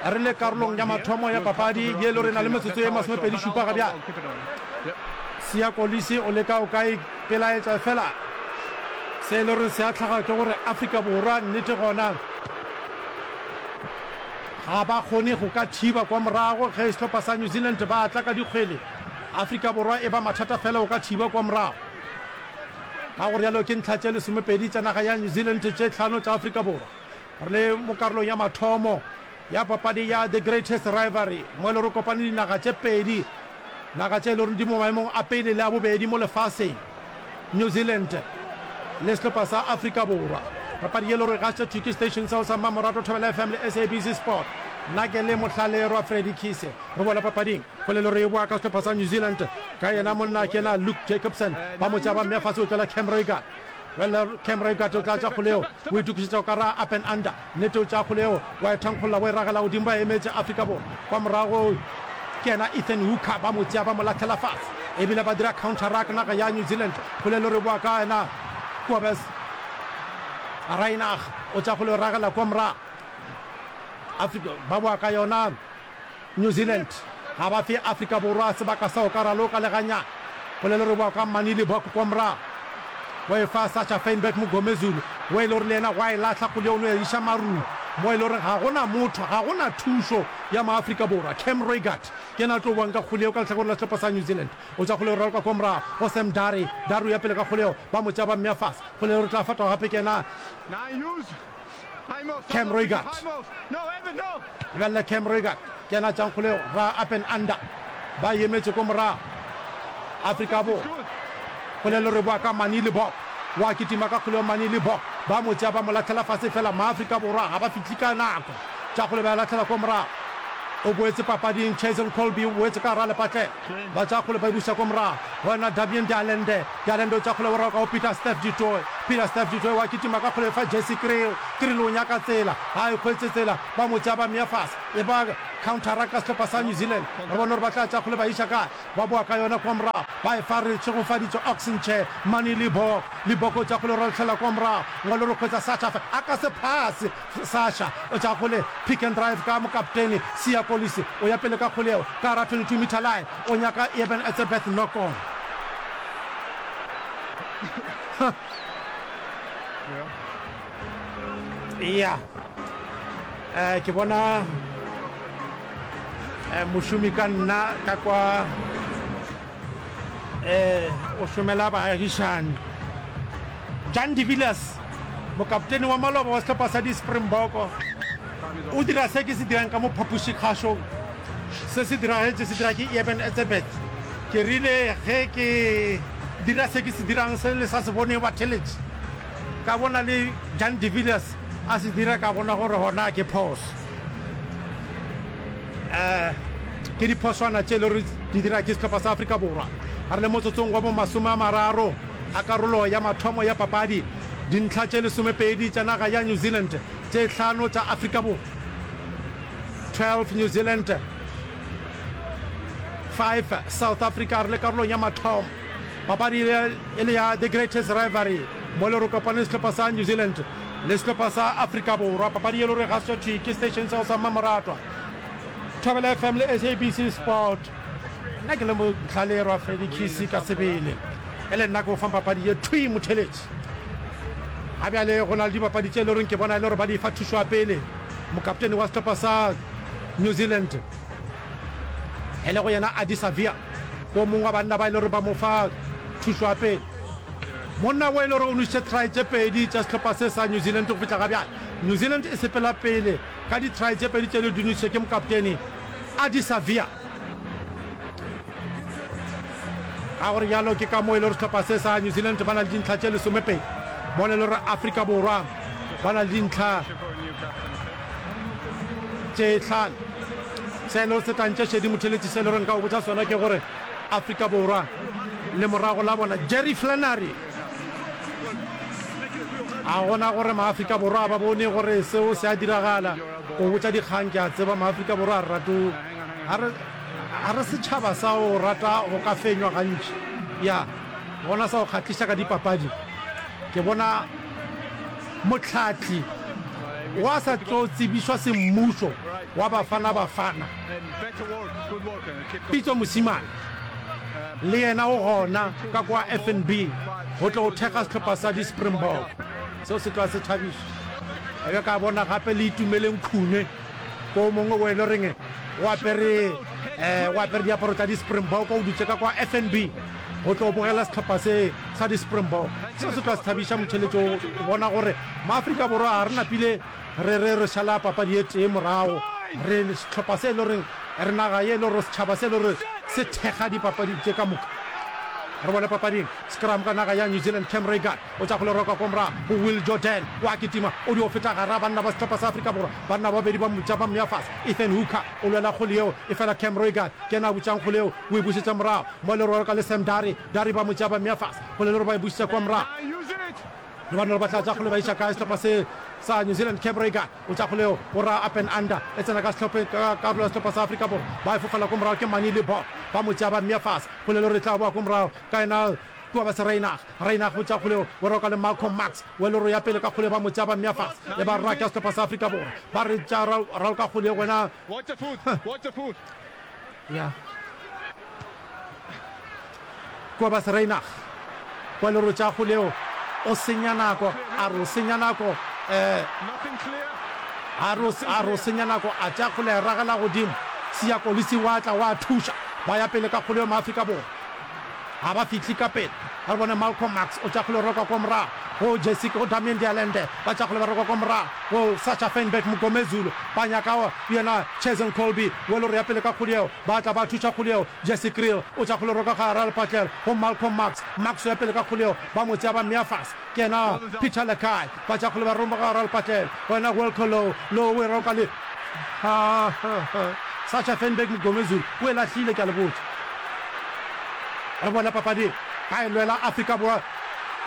Re le karolong ya mathomo ya papadi ye le re na le metsotso ye masomepedi šupa ga bjale. Siya Kolisi o leka o ka ipelaetša efela se e le gore se a hlaga ke gore Afrika Borwa nnete gona ga ba kgone go ka thiba kwa morago ge sehlopha sa New Zealand ba tla ka dikgwele. Afrika Borwa e ba mathata fela go ka thiba kwa morago. Ka go rialo ke ntlha tše lesomepedi tša naga ya New Zealand tše hlano tša Afrika Borwa. Re le mo karolong ya mathomo ya papadi ya The Greatest Rivalry mo e le gore kopane dinaga tše pedi, naga tše e le gore di mo maemong a pele le a bobedi mo lefaseng, New Zealand le sehlopha sa Afrika Borwa. Papadi ye e le gore e gašitše thwi ke station seo sa mmamoratwa Thobela F M le S A B C Sport. Nna ke le Mohlalerwa Freddy Kise. Re boela papading go le le gore e boa ka sehlopha sa New Zealand ka yena monna ke yena Luke Jacobson ba mo tšea ba mmea fase o tlola Cam Roigard. Bjale Cam Roigard o tla tša kgole yeo, o itokišetša go ka ra up and under. Nnete o tšea kgole yeo, wa e thankgolla, wa e ragela godimo, ba emetše Afrika Borwa. Kwa morago ke yena Ethan Hooker, ba mo tšea ba mo lahlela fase. Ebile ba dira counter ruck naga ya New Zealand. Kgole le re boa ka yena Kobus Reinach, o tšea kgole o ragela kwa morago. Afrika ba boa ka yona. New Zealand ga ba fe Afrika Borwa sebaka sa go ka raloka le gannyane. Polelo re boa ka Manie Libbok kwa morago. O e fa Sacha Feinberg-Mngomezulu wo e le gore le yena wa e lahla kgole o no e iša marung mo e le gore ga go na motho, ga go na thušo ya maAfrika Borwa. Cam Roigard ke yena a tlo boang ka kgole yeo ka lehlakoreng la sehlopha sa New Zealand. O tšwa kgole o raloka kwa morago go Sam Darry. Darry o ya pele ka kgole yeo, ba mo tšea ba mmea fase. Kgole yeo re tla fatwa gape ke yena Cam Roigard. Lebelela Cam Roigard ke yena a tšang kgolego ra up and under. Ba emetše ko morago. Afrika Borwa. Kgolelo re boa ka Manie Libbok. Wa kitima ka kgolego Manie Libbok. Ba mo tšea ba mo lahlela fase fela Maafrika Borwa ga ba fihle ka nako. Tša kgole ba e lahlela ko morago. O boetse papading Cheslin Kolbe o boetse ka gara lepatlelo. Ba tša kgole ba e buša ko morago. Go yena Damian de Allende. De Allende o tša kgole o raloka go Pieter-Steph du Toit. Peter Steph Dutoy wa kitima ka kgole fa Jesse Kriel. Kriel o nyaka tsela, ga e hwetše tsela, ba mo tšea ba mmea fase. E ba countera ka sehlopha sa New Zealand. Re bone gore ba tla tšea kgole ba iša kae. Ba boa ka yona kua morago, ba e fa re tšhegofaditše Ox Nche, Manie Libbok. Libbok o tšea kgole o ralhlela kua morago. Ngwalo re hwetša Sacha fa a ka se phase. Sacha o tšea kgole pick and drive ka mokaptene Siya Kolisi o ya pele ka kgole yeo ka gara twenty two meter line. O nyaka Eben Etzebeth knock on. Huh. Ya. Eh, ke bona eh, mošomi ka nna ka kwa eh, o šomela baagišani. Jan de Villiers, mokaptene wa maloba wa sehlopha sa di-Springbok, o dira se ke se dirang ka mo phapošikgašong. Se se diragetše se dira ke Eben Etzebeth. Ke rile ge ke dira se ke se dirang se le sa se boneng batheletši, ka bona le Jan de Villiers a se dira, ka bona gore gona ke phoso. Um ke diphoswana tše le gore di dira ke sehlopha sa Afrika Borwa. Re le motsotsong wa bo masome a mararo a karolo ya mathomo ya papadi, dintlha tše lesomepedi tša naga ya New Zealand, tše hlano tša Afrika Borwa. twelve New Zealand, five South Africa. Re le karolong ya mathomo, papadi e le ya The Greatest Rivalry mo le re kopane sehlopha sa New Zealand le sehlopha sa Afrika Borwa. Papadi e le gore ga se thwi ke station seo sa mmamoratwa Thobela F M le S A B C Sport. Nna ke le motlhalerwa Freddy Kisi ka sebele, e le nna ke o fang papadi ye thwi motheletši. Ga bjale go na le dibapadi tše e le goreng ke bona e le gore ba di fa thušo ya pele. Mokaptene wa sehlopha sa New Zealand e lego yena Ardie Savea ke o mongwe wa banna ba e le gore ba mo fa thušo ya pele. Monna wo e le gore o nwešitše try tše pedi tša sehlopha se sa New Zealand go fihla ga bjale. New Zealand e sepela pele ka di-try tše pedi tše di nwešitše ke mokaptene Ardie Savea. Ka gore bjalo ke ka moo e le gore sehlopha se sa New Zealand ba na le dintlha tše lesomepedi, mola e le gore Afrika Borwa ba na le dintlha tše hlano. Se e le gore se tlantše šedi motheletši, se e le gore nka o botša sona ke gore Afrika Borwa le morago la bona Jerry Flannery a gona gore maAfrika Borwa ba bone gore seo se a diragala. O botša dikgang ke a tseba maAfrika Borwa a re rate a re A re setšhaba sa go rata go ka fenywa gantši. Ya, gona sa go kgahliša ka dipapadi, ke bona mohlahli wa sa tlo tsebišwa semmušo wa Bafana Bafana, Pitso Mosimane, le yena o gona ka kwa F N B go tlo go thekga sehlopha sa di-Springbok. Seo se tloga se thabiša. Ka be ka bona gape le Itumeleng Khune. Ko mongwe o e le reng o apere o apere diaparo tša di-Springbok, o dutše ka kwa F N B go tlo bogela sehlopha se sa di-Springbok. Seo se tloga se thabiša motheletši o bona gore Maafrika Borwa ga re napile re re re šala papadi e tee morago. Re sehlopha se e le goreng re naga ye e le gore setšhaba se e le gore se thekga dipapadi tše ka moka. Re bone papading scrum ka naga ya New Zealand, Cam Roigard O tša go le roka kwa morago go Will Jordan. O a kitima, o dio feta gara banna ba sehlopha sa Afrika Borwa. Banna ba babedi ba mo tša ba mmea fase. Ethan Hooker o lwela kgole yeo, efela Cam Roigard ke yena a butšang kgole yeo, o e bušetša morago. Mo le roka le Sam Darry. Darry ba mo tšea ba mmea fase. Kgole le gore ba e bušetša kwa morago. Le bona gore ba tla tša kgole ba iša kae sehlopha se sa New Zealand. Cam Roigard o tša kgole yeo, o ra up and under. E tsena ka sehlopheng, ka karolo ya sehlopha sa Afrika Borwa. Ba e fofela kwa morago ke Manie Libbok. Ba mo tšea ba mmea fase. Kgole le gore e tla boa kwa morago ka yena Kua ba se Reinach, Reinach o tša kgoleo, o roka le Malcolm Marx, wa loro ya pele ka kgoleo ba mo tša ba mmea fase, e ba raka sehlopha sa Afrika Borwa, ba re tša raloka kgoleo wena. Ya. Kua ba se Reinach, wa loro tša kgoleo, o senya nako, a re o senya nako, eh, a re a re o senya nako, a tša kgole a e ragela godimo, Siya Kolisi wa tla wa thuša, ba ya pele ka kgoleo Maafrika Borwa. Ga ba fihle ka pele. Re bone Malcolm Marx o tša kgole roka kwa morago go Jesse, go Damian de Allende, ba tša kgole ba roka kwa morago go Sacha Feinberg-Mngomezulu, ba nyaka yena Cheslin Kolbe, Welore ya pele ka kgole yeo, ba tla ba thuša kgole yeo, Jesse Kriel o tša kgole roka gare a lepatlelo go Malcolm Marx, Marx o ya pele ka kgole yeo, ba mo tšea ba mmea fase, ke yena Peter Lakai, ba tša kgole ba roka gare a lepatlelo go yena Wilco Louw, Louw o e roka le. Sacha Feinberg-Mngomezulu o e lahlile, ke a le botša. Re bona papadi ba e lwela Afrika Borwa.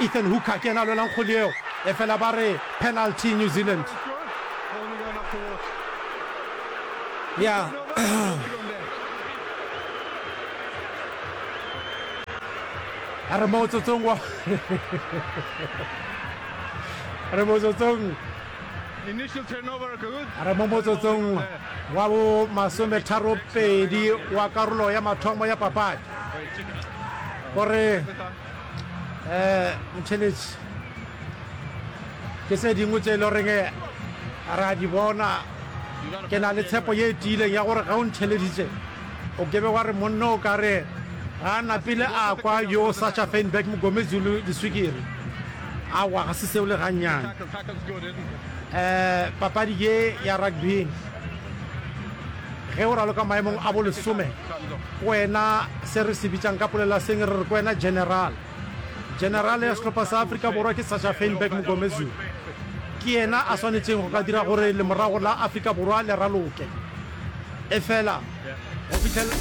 Ethan Hooker ke yena a lwelang kgole yeo, efela ba re penalty New Zealand. Ya. A re motsotsong wa re motsotsong a re mo motsotsong wa bo masometharo pedi wa karolo ya mathomo ya papadi gore um motšheletši ke se dingwe tše e le goreng re a di bona. Ke na le tshepo ye e tiileng ya gore ge o ntheleditše o ke be wa re monna o ka re ga a napile a kwa yo Sacha Feinberg Mgomezulu diswikiri. Aowa, ga se seo le gannyane. Um papadi ye ya rugby ge o raloka maemong a bolesome, ke wena se re se bitšang ka polela seng re re ke wena general. General ya sehlopha sa Afrika Borwa ke Sacha Feinberg Mgomezulu. Ke yena a swanetšeng go ka dira gore lemorago la Afrika Borwa le raloke. Efela go fihlela.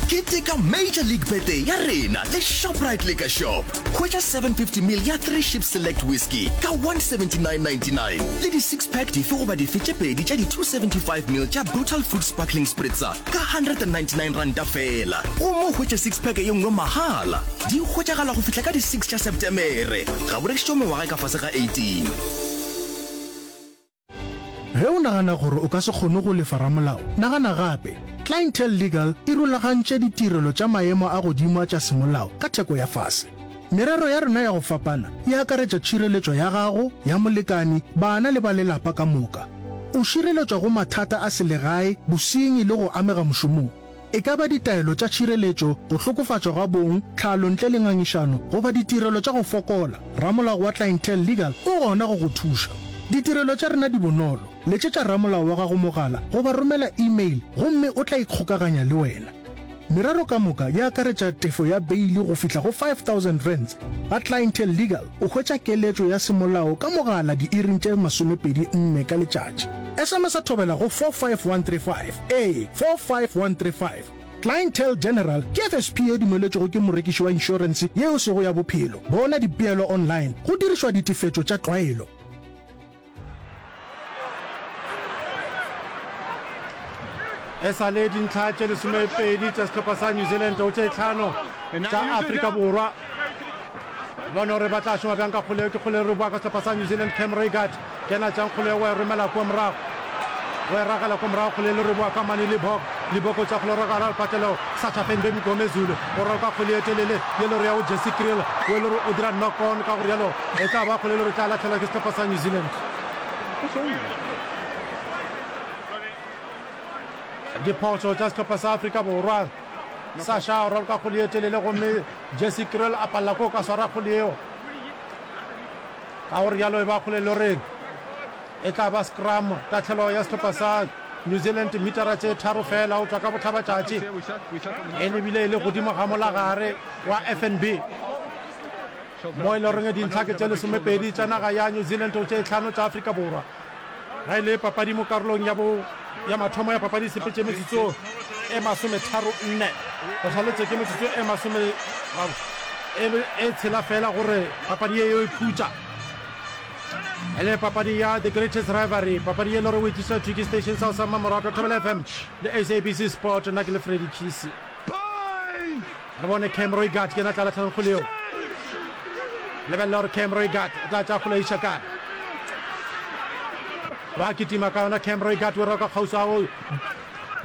Keteka Major League Birthday ya rena le Shoprite Liquor Shop. Hwetša seven fifty ml ya Three Ships Select Whisky ka one seventy nine ninety nine le di six pack dife goba dife tše pedi tša di two seventy five ml tša Brutal Fruit Sparkling Spritzer ka hundred and ninety nine ranta feela. Gomme o hwetše six pack ye nngwe mahala. Di hwetšagala go fihla ka di six tša Septemere. Ga bo rekišetšwe mengwaga e ka fase ga eighteen. Ge o nagana gore o ka se kgone go lefa ramolao, nagana gape. Clientele Legal e rulagantše ditirelo tša maemo a godimo a tša semolao ka theko ya fase. Merero ya rena ya go fapana e akaretša tšhireletšo ya gago, ya molekani, bana le ba lelapa ka moka. O šireletšwa go mathata a selegae, bosenyi le go amega mošomong. E ka ba ditaelo tša tšhireletšo, go hlokofatšwa ga bong, tlhalo ntle le ngangišano, goba ditirelo tša go fokola, ramolao wa Clientele Legal o gona go go thuša. Ditirelo tša rena di bonolo. Letšetša ramolao wa gago mogala goba romela email gomme o tla ikgokaganya le wena. Merero ka moka e akaretša tefo ya beili go fihla go five thousand rands. Ga Clientele Legal o hwetša keletšo ya semolao ka mogala diiring tše masomepedi nne ka letšatši. S M S a thobela go four five one three five, ee, four five one three five. Clientele General ke F S P ye dumeletšwego ke morekiši wa inšorense ye e sego ya bophelo. Bona dipeelo online go dirišwa ditefetšo tša tlwaelo. E sa le dintlha tše lesomepedi tša sehlopha sa New Zealand go tše tlhano tša Afrika Borwa. Bone gore ba tla šoma bjang ka kgole. Ke kgole re boa ka sehlopha sa New Zealand. Cam Roigard ke yena tšang kgole, wa e romela kua morago, wa e ragela kua morago. Kgole le re boa ka Mane Libok. Libok o tša kgole roka gara lepatlelo. Sacha Feinberg Mgomezulu o roka kgole e telele ye le re ya go Jesse Kriel, o e le gore o dira knock on. Ka gore yalo e tla ba kgole le re tla latlhelwa ke sehlopha sa New Zealand. Diphošo tša sehlopha sa Afrika Borwa. Sasha o raloka kgole ye telele gomme Jesse Kriel a palela ko ka swara kgole yeo. Ka gore yalo e ba kgole le gore e tla ba scrum, tahlelo ya sehlopha sa New Zealand, metara tše tharo fela o tšwa ka bohlabatšatši, e lebile e le godimo ga molagare wa F N B mo e le goreng dintlha ke tše lesomepedi tša naga ya New Zealand go tše tlhano tša Afrika Borwa. Ga e le papadi mo karolong ya bo ya mathomo ya papadi e sepetše metsotso e masometharo nne, go šaletše ke metsotso e masome e, e tshela fela gore papadi ye yo e khutša. E le papadi ya The Greatest Rivalry, papadi ye le gore o e tliša thwi ke station sa sa mmamoratwa Thobela F M le S A B C Sport. Nna ke le Freddy Kisi. Re bone Cam Roigard ke yena tla lahlelang kgole yeo. Lebelela gore Cam Roigard o tla tša kgole iša kae. Ba kitima ka yona Cam Roigard o roka kgauswi a go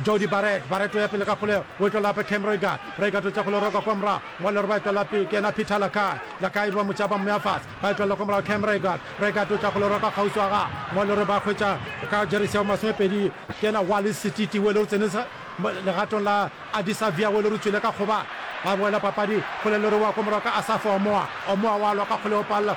Jody Barrett. Barrett o ya pele ka kgole o e tlola gape Cam Roigard. Roigard o tša kgole roka kwa morago. Mo le gore ba e tlola pele ke yena Peter Lakai. Lakai ba mo tša ba mmea fase. Ba e tlola kwa morago Cam Roigard. Roigard o tša kgole roka kgauswi a ga mo le gore ba hwetša ka jeresi ya masomepedi ke yena Wallace Setiti o le o tsene legatong la Adisa Via o le re tšwele ka kgoba. Ba boela papadi kgole le re wa ko morago ka Asafo Omoa. Omoa wa lwa ka kgole o palela.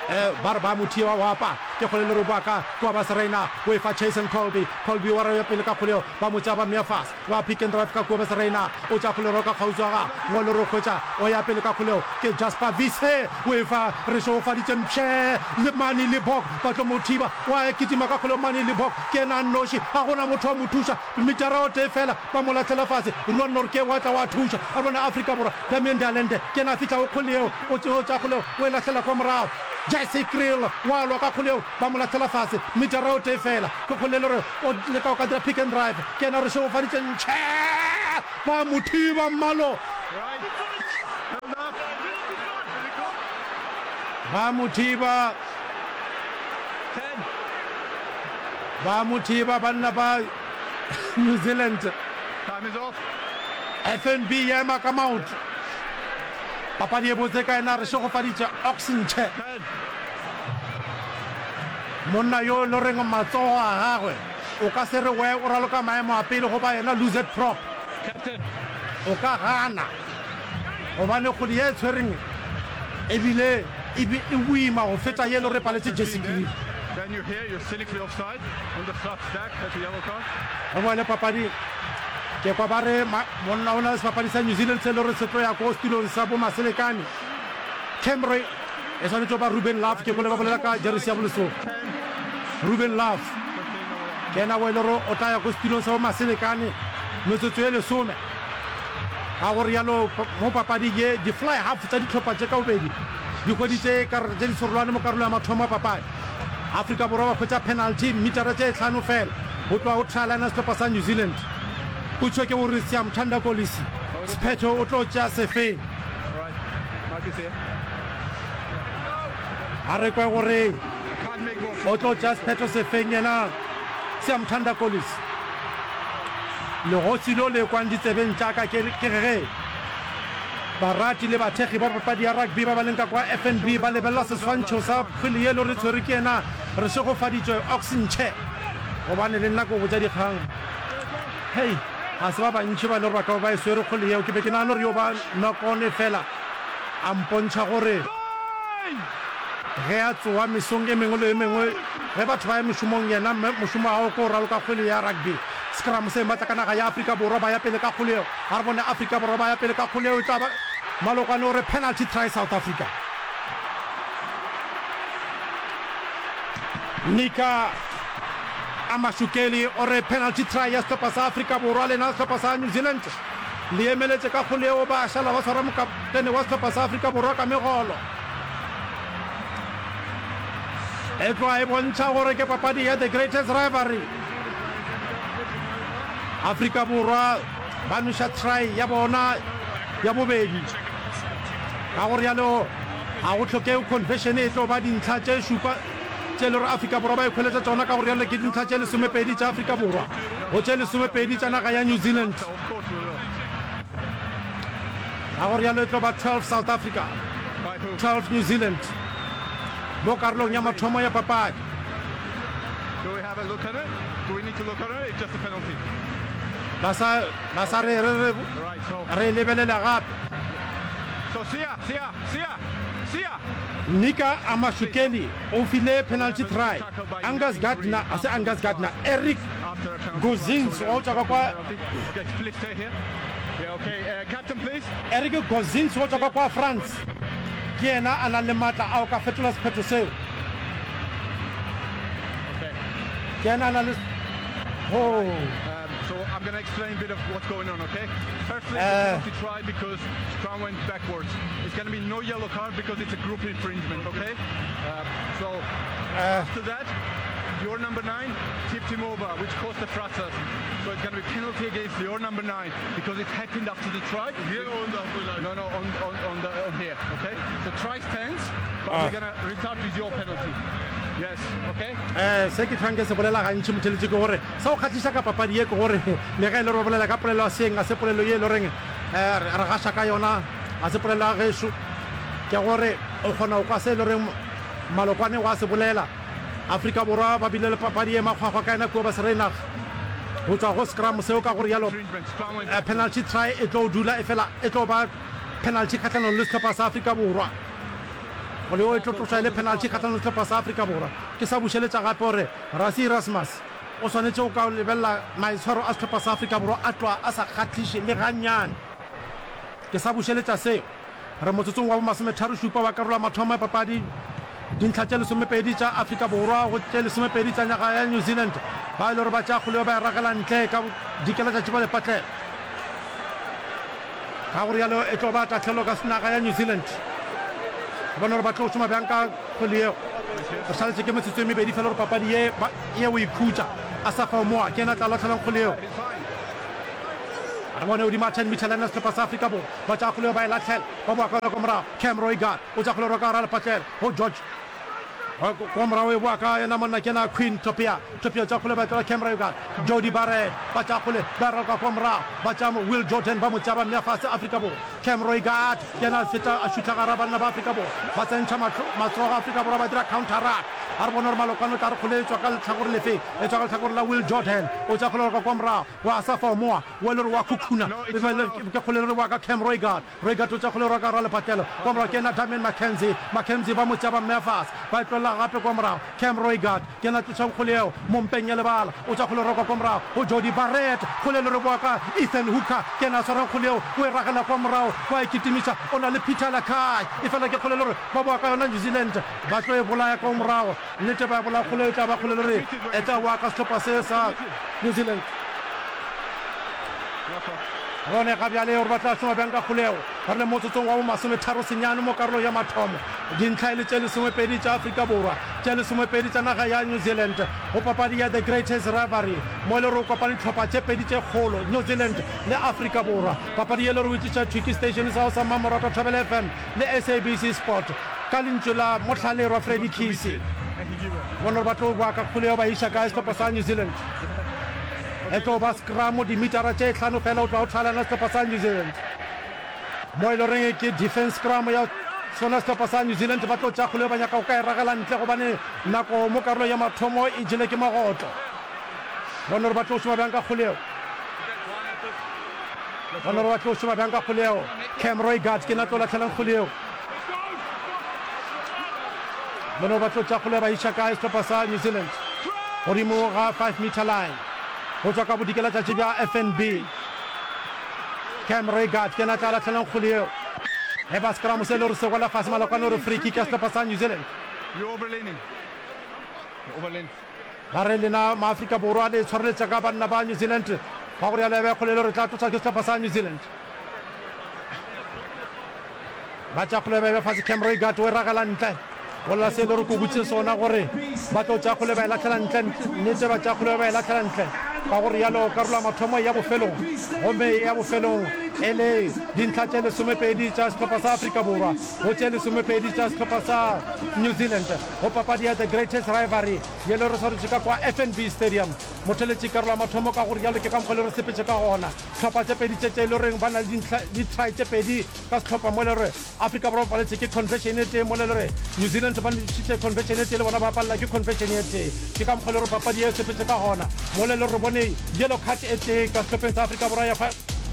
Eh, ba re ba mo thie wa wapa. Ke kgole le roboa ka kua ba Serena o e fa Chasen Colby. Colby wa ya pele ka kgole yeo ba mo tšea ba mmea fase. Ba pick and drive ka kua ba Serena o tšea kgole roka kgauswi wa gagwe. Ngolo re hwetša o ya pele ka kgole yeo ke Jasper Wiese o e fa re šegofaditše mpšhe le Manie Libbok ba tlo mo thiba wa kitima ka kgole Manie Libbok ke yena a nnoši ga gona motho wa mo thuša metara o tee fela ba mo lahlela fase Ruan Nortje wa tla wa thuša a bona Afrika Borwa Damian de Allende ke yena a fihlago kgole yeo o tšea kgole yeo o e lahlela kwa morago Jesse Kriel wa lwa ka kgole yeo ba mo lahlela fase metara o tee fela ke kgole e le gore o leka go ka dira pick and drive ke yena re šegofaditše ntšhe ba mo thiba mmalo ba mo thiba ba mo thiba banna ba New Zealand F N B ya ema ka maoto papadi e botse ka yena re šegofaditše Ox Nche monna yo le reng matsogo a gagwe o ka se re we o raloka maemo a pele goba yena loosehead prop o ka gana gobane kgwedi ye e tshwereng ebile e be e boima go feta ye le re paletše Jesse Kriel. Re boele papading. Ke kwa ba re monna o na le sebapadi sa New Zealand se le gore se tlo ya ko setulong sa bo Maselekane. Camry e swanetše go ba Ruben Love, ke kwele ba bolela ka jeresi ya bolesome. Ruben Love ke yena o e le gore o tla ya ko setulong sa bo Maselekane metsotso e lesome. Ka go rialo mo papading ye di-fly half tša dihlopha tše ka bobedi di hweditše karata tše diserolwane mo karolo ya mathomo ya papadi. Afrika Borwa ba hwetša penalty mmitara tše hlano fela go tloga go try line ya sehlopha sa New Zealand. Potšo ke gore Siyamthanda Kolisi sephetho o tlo tšea sefeng? A re kwe gore o tlo tšea sephetho sefeng yena Siyamthanda Kolisi. Legosi lo le kwang ditsebeng tša ka ke ke ge barati le bathekgi ba papadi ya rugby ba ba leng ka kwa F N B ba lebelela seswantšho sa kgwele ye lo re tshwere ke yena re šegofaditšwe Ox Nche gobane le nna ke go botša dikgang hei ga se ba bantši ba le gore ba ka ba ba e swere kgwele yeo ke be ke nagana gore yo ba nokone fela a mpontšha gore ge a tsoa mesong e mengwe le e mengwe ge batho ba ya mešomong yena mošomo wa gagwe ke go raloka kgwele ya rugby. Scrum se matla ka naga ya Afrika Borwa ba ya pele ka kgwele yeo. A re bone Afrika Borwa ba ya pele ka kgwele yeo e tla ba Malokwane o re penalty try South Africa. Nika Amashukeli o re penalty try ya sehlopha sa Afrika Borwa lena sehlopha sa New Zealand le emeletše ka kgwele yeo ba šala ba swara mokaptene wa sehlopha sa Afrika Borwa ka megolo. E tloga e bontšha gore ke papadi ya the greatest rivalry. Afrika Borwa ba noša try ya bona ya bobedi. Ka go rialo ga go hlokege conversion e tlo ba dintlha tše šupa tše le gore Afrika Borwa ba ikhweletša tšona ka go rialo ke dintlha tše lesomepedi tša Afrika Borwa go tše lesomepedi tša naga ya New Zealand. Ka go rialo e tlo ba twelve South Africa, twelve New Zealand mo karolong ya mathomo ya papadi. Do we have a look at it? Do we need to look at it? It's just a penalty. Ba sa ba sa re re re Right, so re lebelela gape. so Sia, Sia, Sia, Sia. Nika Amashukeli o file penalty try. Angus Gardner, a se Angus Gardner, Eric After a penalty. Gozins wa go tšwa ka kwa Okay, please stay here. Yeah, okay. Uh, captain, please. Eric Gozins wa tšwa ka kwa France ke yena a nang le maatla a go ka fetola sephetho seo. Okay. Ke yena a nang le ho Um, so I'm going to explain a bit of what's going on, okay? Firstly, Uh, it's a penalty try because Scrum went backwards. It's going to be no yellow card because it's a group infringement, okay? Uh, so uh, after that, your number nine tipped him over, which caused the fracas. So it's going to be penalty against your number nine because it happened after the try. Here on the No, no, on, on, on, the, on here, okay? The try stands, but Ah. we're going to restart with your penalty. Yes, okay? Eh, se ke tlhwang ke se bolela gantši motheletši ke gore sa go kgahliša ka papadi ye ke gore le ge e le gore ba bolela ka polelo ya seeng ga se polelo ye e le goreng um re gaša ka yona ga se polelo ya gešo ke gore o kgona go kwa se e le goreng malokwane wa se bolela. Afrika Borwa ba bile le papadi ye makgwakgwa ka yena kua Basereinaga go tšwa go scrum seo ka gore yalo Infringement, Scrum went eh, penalty try e tlo dula e fela e tlo ba penalty kgahlanong le sehlopha sa Afrika Borwa. Kgole yeo e tlo tlošwa e le penalty kgahlanong le sehlopha sa Afrika Borwa. Ke sa bušeletša gape gore Rassie Erasmus o swanetše go ka lebelela maitshwaro a sehlopha sa Afrika Borwa a tloga a sa kgahliše le gannyane. Ke sa bušeletša seo. Re motsotsong wa bomasometharo-šupa wa karolo ya mathomo ya papadi. Dintlha tše lesomepedi tša Afrika Borwa go tše lesomepedi tša naga ya New Zealand. Ba e le gore ba tšea kgole yo ba e ragela ntle ka dikelatšatši ba lepatlela. Ka go rialo e tlo ba tahlelo ka naga ya New Zealand. Re bone gore ba tlo šoma bjang ka kgwele yeo. Re šaletše ke metsotso e mebedi fela gore papadi ye ba ye go ikhutša. Asafa Omoa ke yena a tla lahlelang kgwele yeo. Re bone godimo ga ten meter line ya sehlopha sa Afrika Borwa. Ba tšea kgwele yeo ba e lahlela. Ba boa ka yona kwa morago. Cam Roigard o tšea kgwele go ka gare ga lepatlelo go George. Kwa morago e boa ka yena monna ke yena Queen Topia. Topia o tšea kgwele ba e tlola Cam Roigard. Jody Barrett ba tšea kgwele ba e raloka kwa morago. Ba tšea Will Jordan ba mo tšea ba mmea fase Afrika Borwa. Cam Roigard ke yena a feta a šutha gare ga banna ba Afrika Borwa. Ba tsentšha matsogo a Afrika Borwa ba dira counter ruck. A re bone gore Malokwane o tla re kgwele e tšwa ka lehlakore lefe. E tšwa ka lehlakore la Will Jordan. O tšea kgwele go raloka kwa morago go Asafa Omoa. Wa le re wa khukhuna. Ke kgwele le re wa ka Cam Roigard. Roigard o tšea kgwele go raloka gare ga lepatlelo. Kwa morago ke yena Damian McKenzie. McKenzie ba mo tšea ba mmea fase. Ba e tlolela gape kwa morago. Cam Roigard ke yena a tlošago kgwele yeo mo mpeng ya lebala. O tšea kgwele go raloka kwa morago go Jordie Barrett. Kgwele le re boa ka Ethan Hooker. Ke yena a swarang kgwele yeo. O e ragela kwa morago. Wa e kitimiša. O na le Peter Lakai. Efela ke kgwele le re ba boa ka yona New Zealand. Ba tlo e bolaya kwa morago. Nnete ba e bolaya kgwele yeo e tla ba kgwele le re e tla boa ka sehlopha se sa New Zealand. Bone ga bjale gore ba tla šoma bjang ka kgolego. Re le motsotsong wa bomasometharo senyane mo karolong ya mathomo. Dintlha e le tše lesomepedi tša Afrika Borwa, tše lesomepedi tša naga ya New Zealand go papadi ya The Greatest Rivalry mo e le gore o kopane dihlopha tše pedi tše kgolo, New Zealand le Afrika Borwa. Papadi ye e le gore o e tliša thwi ke station sa gago sa mmamoratwa Thobela F M le S A B C Sport ka lentšu la mohlalerwa Freddie Kesey. Bone gore ba tlo boa ka kgolego ba iša kae sehlopha sa New Zealand. E tlo ba scrum dimitara tše hlano fela go tloga go thalana sehlopha sa New Zealand. Mo e le goreng ke defense scrum ya sona sehlopha sa New Zealand, ba tlo tšea kgolego ba nyaka go ka e ragela ntle gobane nako mo karolong ya mathomo e jele ke magotlo. Bone gore ba tlo šoma bjang ka kgolego. Bone gore ba tlo šoma bjang ka kgolego. Cam Roigard ke na tlo lahlelang kgolego. Bone gore ba tlo tšea kgolego ba iša kae sehlopha sa New Zealand godimo ga five meter line go tšwa ka bodikelatšatši bja F N B. Cam Roigard ke yena a tla lahlelang kgole yeo. E ba scrum se le gore se wela fase malokwane gore free kick ya sehlopha sa New Zealand. Ba re lena Maafrika Borwa le tshwareletša ka banna ba New Zealand ba gore ya lebe kgole le gore tla tloša ke sehlopha sa New Zealand. Ba tša kgole ba e fase Cam Roigard o e ragela ntle. Go lla se le gore ke botše sona gore ba tlo tša kgole ba e lahlela ntle. Nnete ba tša kgole ba e lahlela ntle. Ka gore yalo karolo ya mathomo ya bofelong gomme ya bofelong e le dintlha tše lesomepedi tša sehlopha sa Afrika Borwa go tše lesomepedi tša sehlopha sa New Zealand go papadi ya The Greatest Rivalry ye le re swaretše ka kwa F N B Stadium. Motheletši karolo ya mathomo ka gore yalo ke ka mokgwa le re sepetše ka gona. Hlopha tše pedi tše tše e le goreng ba na le dintlha di-try tše pedi ka sehlopha mo e le gore Afrika Borwa ba paletše ke conversion e tee mo e le gore New Zealand ba ntšhitše conversion e tee le bona ba palela ke conversion e tee. Ke ka mokgwa e le gore papadi ye e sepetše ka gona mo e le gore re bone yellow card e tee ka sehlopheng sa Afrika Borwa ya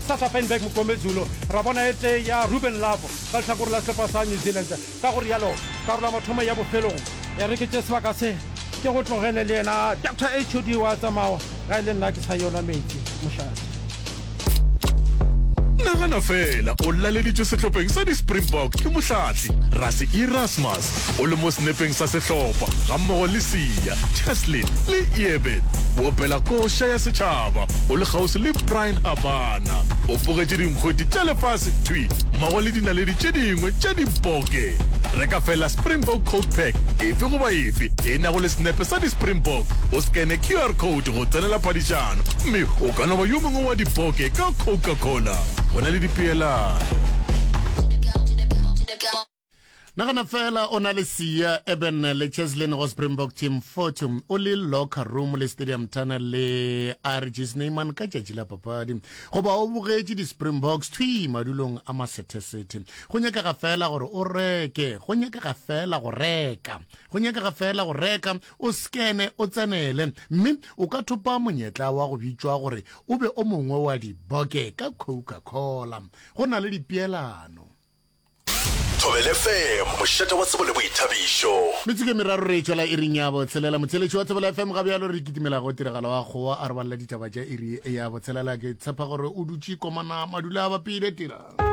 Sacha Feinberg Mngomezulu, ra bona e tee ya Ruben Love ka lehlakore la sehlopha sa New Zealand. Ka go rialo, karolo ya mathomo ya bofelong e re ke tše sebaka se ke go tlogele le yena Doctor H O D wa tsamao ga e le nna ke sa yo nwa meetse mošate. Nagana feela o laleditšwe sehlopheng sa di-Springbok ke mohlahli Rassie Erasmus o le mo senepeng sa sehlopha gammogo le Siya, Cheslin le Eben. O opela koša ya setšhaba o le kgauswi le Bryan Habana. O bogetše dinkgwete tša lefase thwi mmogo le dinaledi tše dingwe tša diboke. Reka feela Springbok Coke Pack efe goba efe e nago le senepe sa di-Springbok, o skene Q R code go tsenela phadišano mme o ka no ba yo mongwe wa diboke ka Coca-Cola. Go na le dipeelano. Nagana fela o na le Siya, Eben le Cheslin go Springbok Team Fortune o le locker room le Stadium Tunnel le R G Snyman ka tšatši la papadi goba o bogetše di-Springboks thwi madulong a masethesethe. Go nyakega fela gore o reke, go nyakega fela go reka, go nyakega fela go reka, o skene o tsenele mme o ka thopa monyetla wa go bitšwa gore o be o mongwe wa diboke ka Coca-Cola. Go na le dipeelano. Thobela F M, mošate wa tsebo le boithabišo. Metsotso e meraro re e tšwela iring ya botshelela. Motheeletši wa Thobela F M ga bjalo re kitimela go tiragalo wa kgowa a re balela ditaba tša iri ya botshelela. Ke tshepa gore o dutše komana madula a bapile tira.